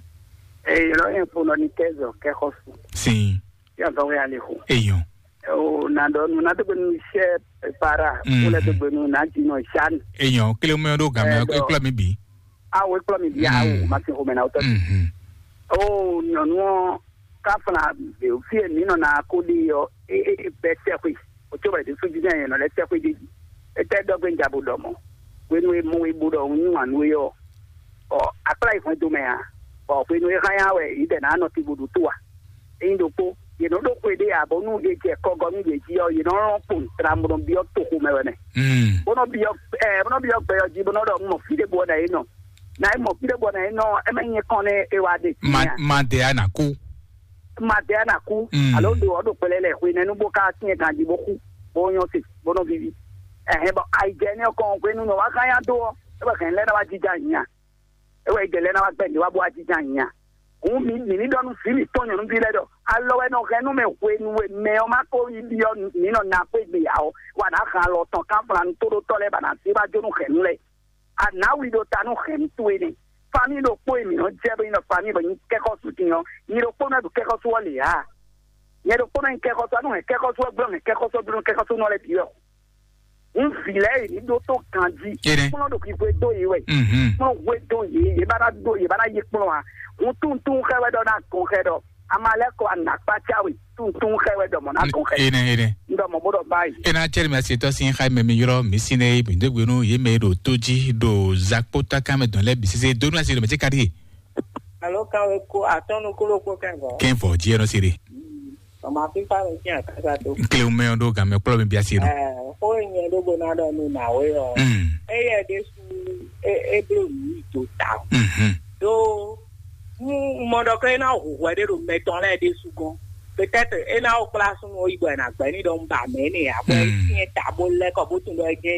Eye lɔ yẹn fo nɔ ní kɛzɔ kɛxɔsu. Sin. Yà gbɔ wɛ alẹ xo. Eyɔn. O na dɔ nu na dogbe nu sɛ para. Mm. Wole dogbe nu na dzi nɔ sani. Eyɔn kele mɛ ɖo gamɛ. Ɛ, dɔ. Ekplɔ mi bi. Awo ekplɔ mi bi awo. Mm. Ma se xo mɛ na wotɔ. Mhm. O nyɔnu ɔ, káfla, fi e mǐ nɔ ná ko ɖe ɔ́, é é é bɛ́ sɛ́xwe. O tso bɛ ɖésú jí nɛ nɔ lɛ́ sɛ́xwe ɖé jí. Étɛ́ ɖɔ gbé un ja bo ɖɔ mɔ̌? Hwenu e mɔ we bo ɖɔ un yí wǎn nú we ɔ́, bɔ akplá yi hwɛndo mɛ ǎ, bɔ hwenu e hán yá wɛ yě dɛ ná nɔ te bo ɖo tó a? Ényí ɖokpó, yě nɔ ɖó xwe ɖé ǎ, bɔ nú è jɛ kɔgɔ nú yě jí ɔ́, yě nɔ lɔn kpowun tla bó nɔ byɔ́ toxo mɛ wɛ mɛ. Mm. Bó nɔ byɔ́ ɛ bó nɔ byɔ́ gbɛ ɔ́ jí, bó nɔ ɖɔ un mɔ fí ɖé bɔ nɛ é nɔ. Na é mɔ fí ɖé bɔ nɛ é nɔ, é mɛ nyɛ kɔn nɛ é wá ɖe. Ma ma de a na kú. Ma de a na kú. Mm. Alo ɖo ɔ ɖo kpɛlɛ lɛ hwe nɛnu bó ka tiɛ ganji bó xú, bó nyɔ se, bó nɔ vivi. Ɛhɛn, bɔ ayijɛ nɛ kɔn hwenu nɔ wá xá nya dó ɔ, é bɔ hɛn lɛ na wá jija nya. É wɛ ayijɛ lɛ na wá gbɛ ní wá bó wá jija nya. Hǔn mi mi ní ɖɔ nú vǐ mǐtɔn nyɔ̌nuví lɛ́ɛ ɖɔ alɔ wɛ nɔ hɛn nú mɛ hwenu e mɛ ɔ́ má ko yi byɔ́ mǐ nɔ ná xwé gbe ǎ ɔ́, wá ná hɛn alɔ tɔn kánflanu tóɖótɔ́ lɛ́ɛ ba ná zé wá jó nú hɛ̌nnu lɛ́ɛ. A nǎ wi ɖo ta nú hɛ̌nnu towe nɛ́. Famíi ɖokpó e mǐ nɔ́ jɛ bó nyí ɖɔ famíi bɔ nyí kɛ́xɔ́sú din ɔ́, nyi ɖokpó nɔ ɖu kɛ́xɔ́sú ɔ́ lě ǎ. Nyɛ ɖokpónɔ nyí kɛxɔ́sú, anú hɛn kɛxɔ́sú ɔ́ gblɔ́, hɛn kɛxɔ́sú ɔ́ gblɔ́, kɛxɔ́sú nɔ lɛ́ bǐ wɛ. Un vǐ lɛ́ɛ yě ní ɖótó ganjí. Kplɔ́n ɖo xixwe dó yě wɛ. Kplɔ́n hwe dó yě, yě ba ná dó, yě ba ná yí kplɔ́n ǎ. Un tunwun tunwun xɛ wɛ ɖɔ ná gɔn xɛ ɖɔ Amaleko anakpatsawe tuntun xɛ wɛ dɔmɔ na tun xɛ. Ene, ene. Ndɔmɔ bo dɔ bayi. Ena cɛri mi asi tɔ sin xa mɛ mi yɔrɔ mi si ne mi de gbenu ye mɛ ɖo to ji ɖo zakpota kan mɛ dɔn lɛ bi sese donu asi ɖo mɛ ti kari. Alo kan we ko atɔnu kolo ko kɛngɔ. Kɛn vɔ ji ɛnɔ siri. Ɔmɔ afi fa mi tiɲɛ kaka to. Kile mɛ ɖo gan mɛ kplɔ mi bi asi no. Ɛɛ, ko nyɛ ɖo bo na dɔ nu na we ɔ. Mm. Eye ɖe su e e blo nu do ta. Mhm. Do nu mɔ dɔ ko e na hu hwɛ ɖe ɖo mɛ tɔn lɛ ɖe su gɔn. Peut-être e na o kpla sunu o yi bɔ e na gbɛ ni dɔ n ba mɛ ne ya bɔ e Mm. tiɲɛ ta bo lɛ kɔ bo tun dɔ e jɛ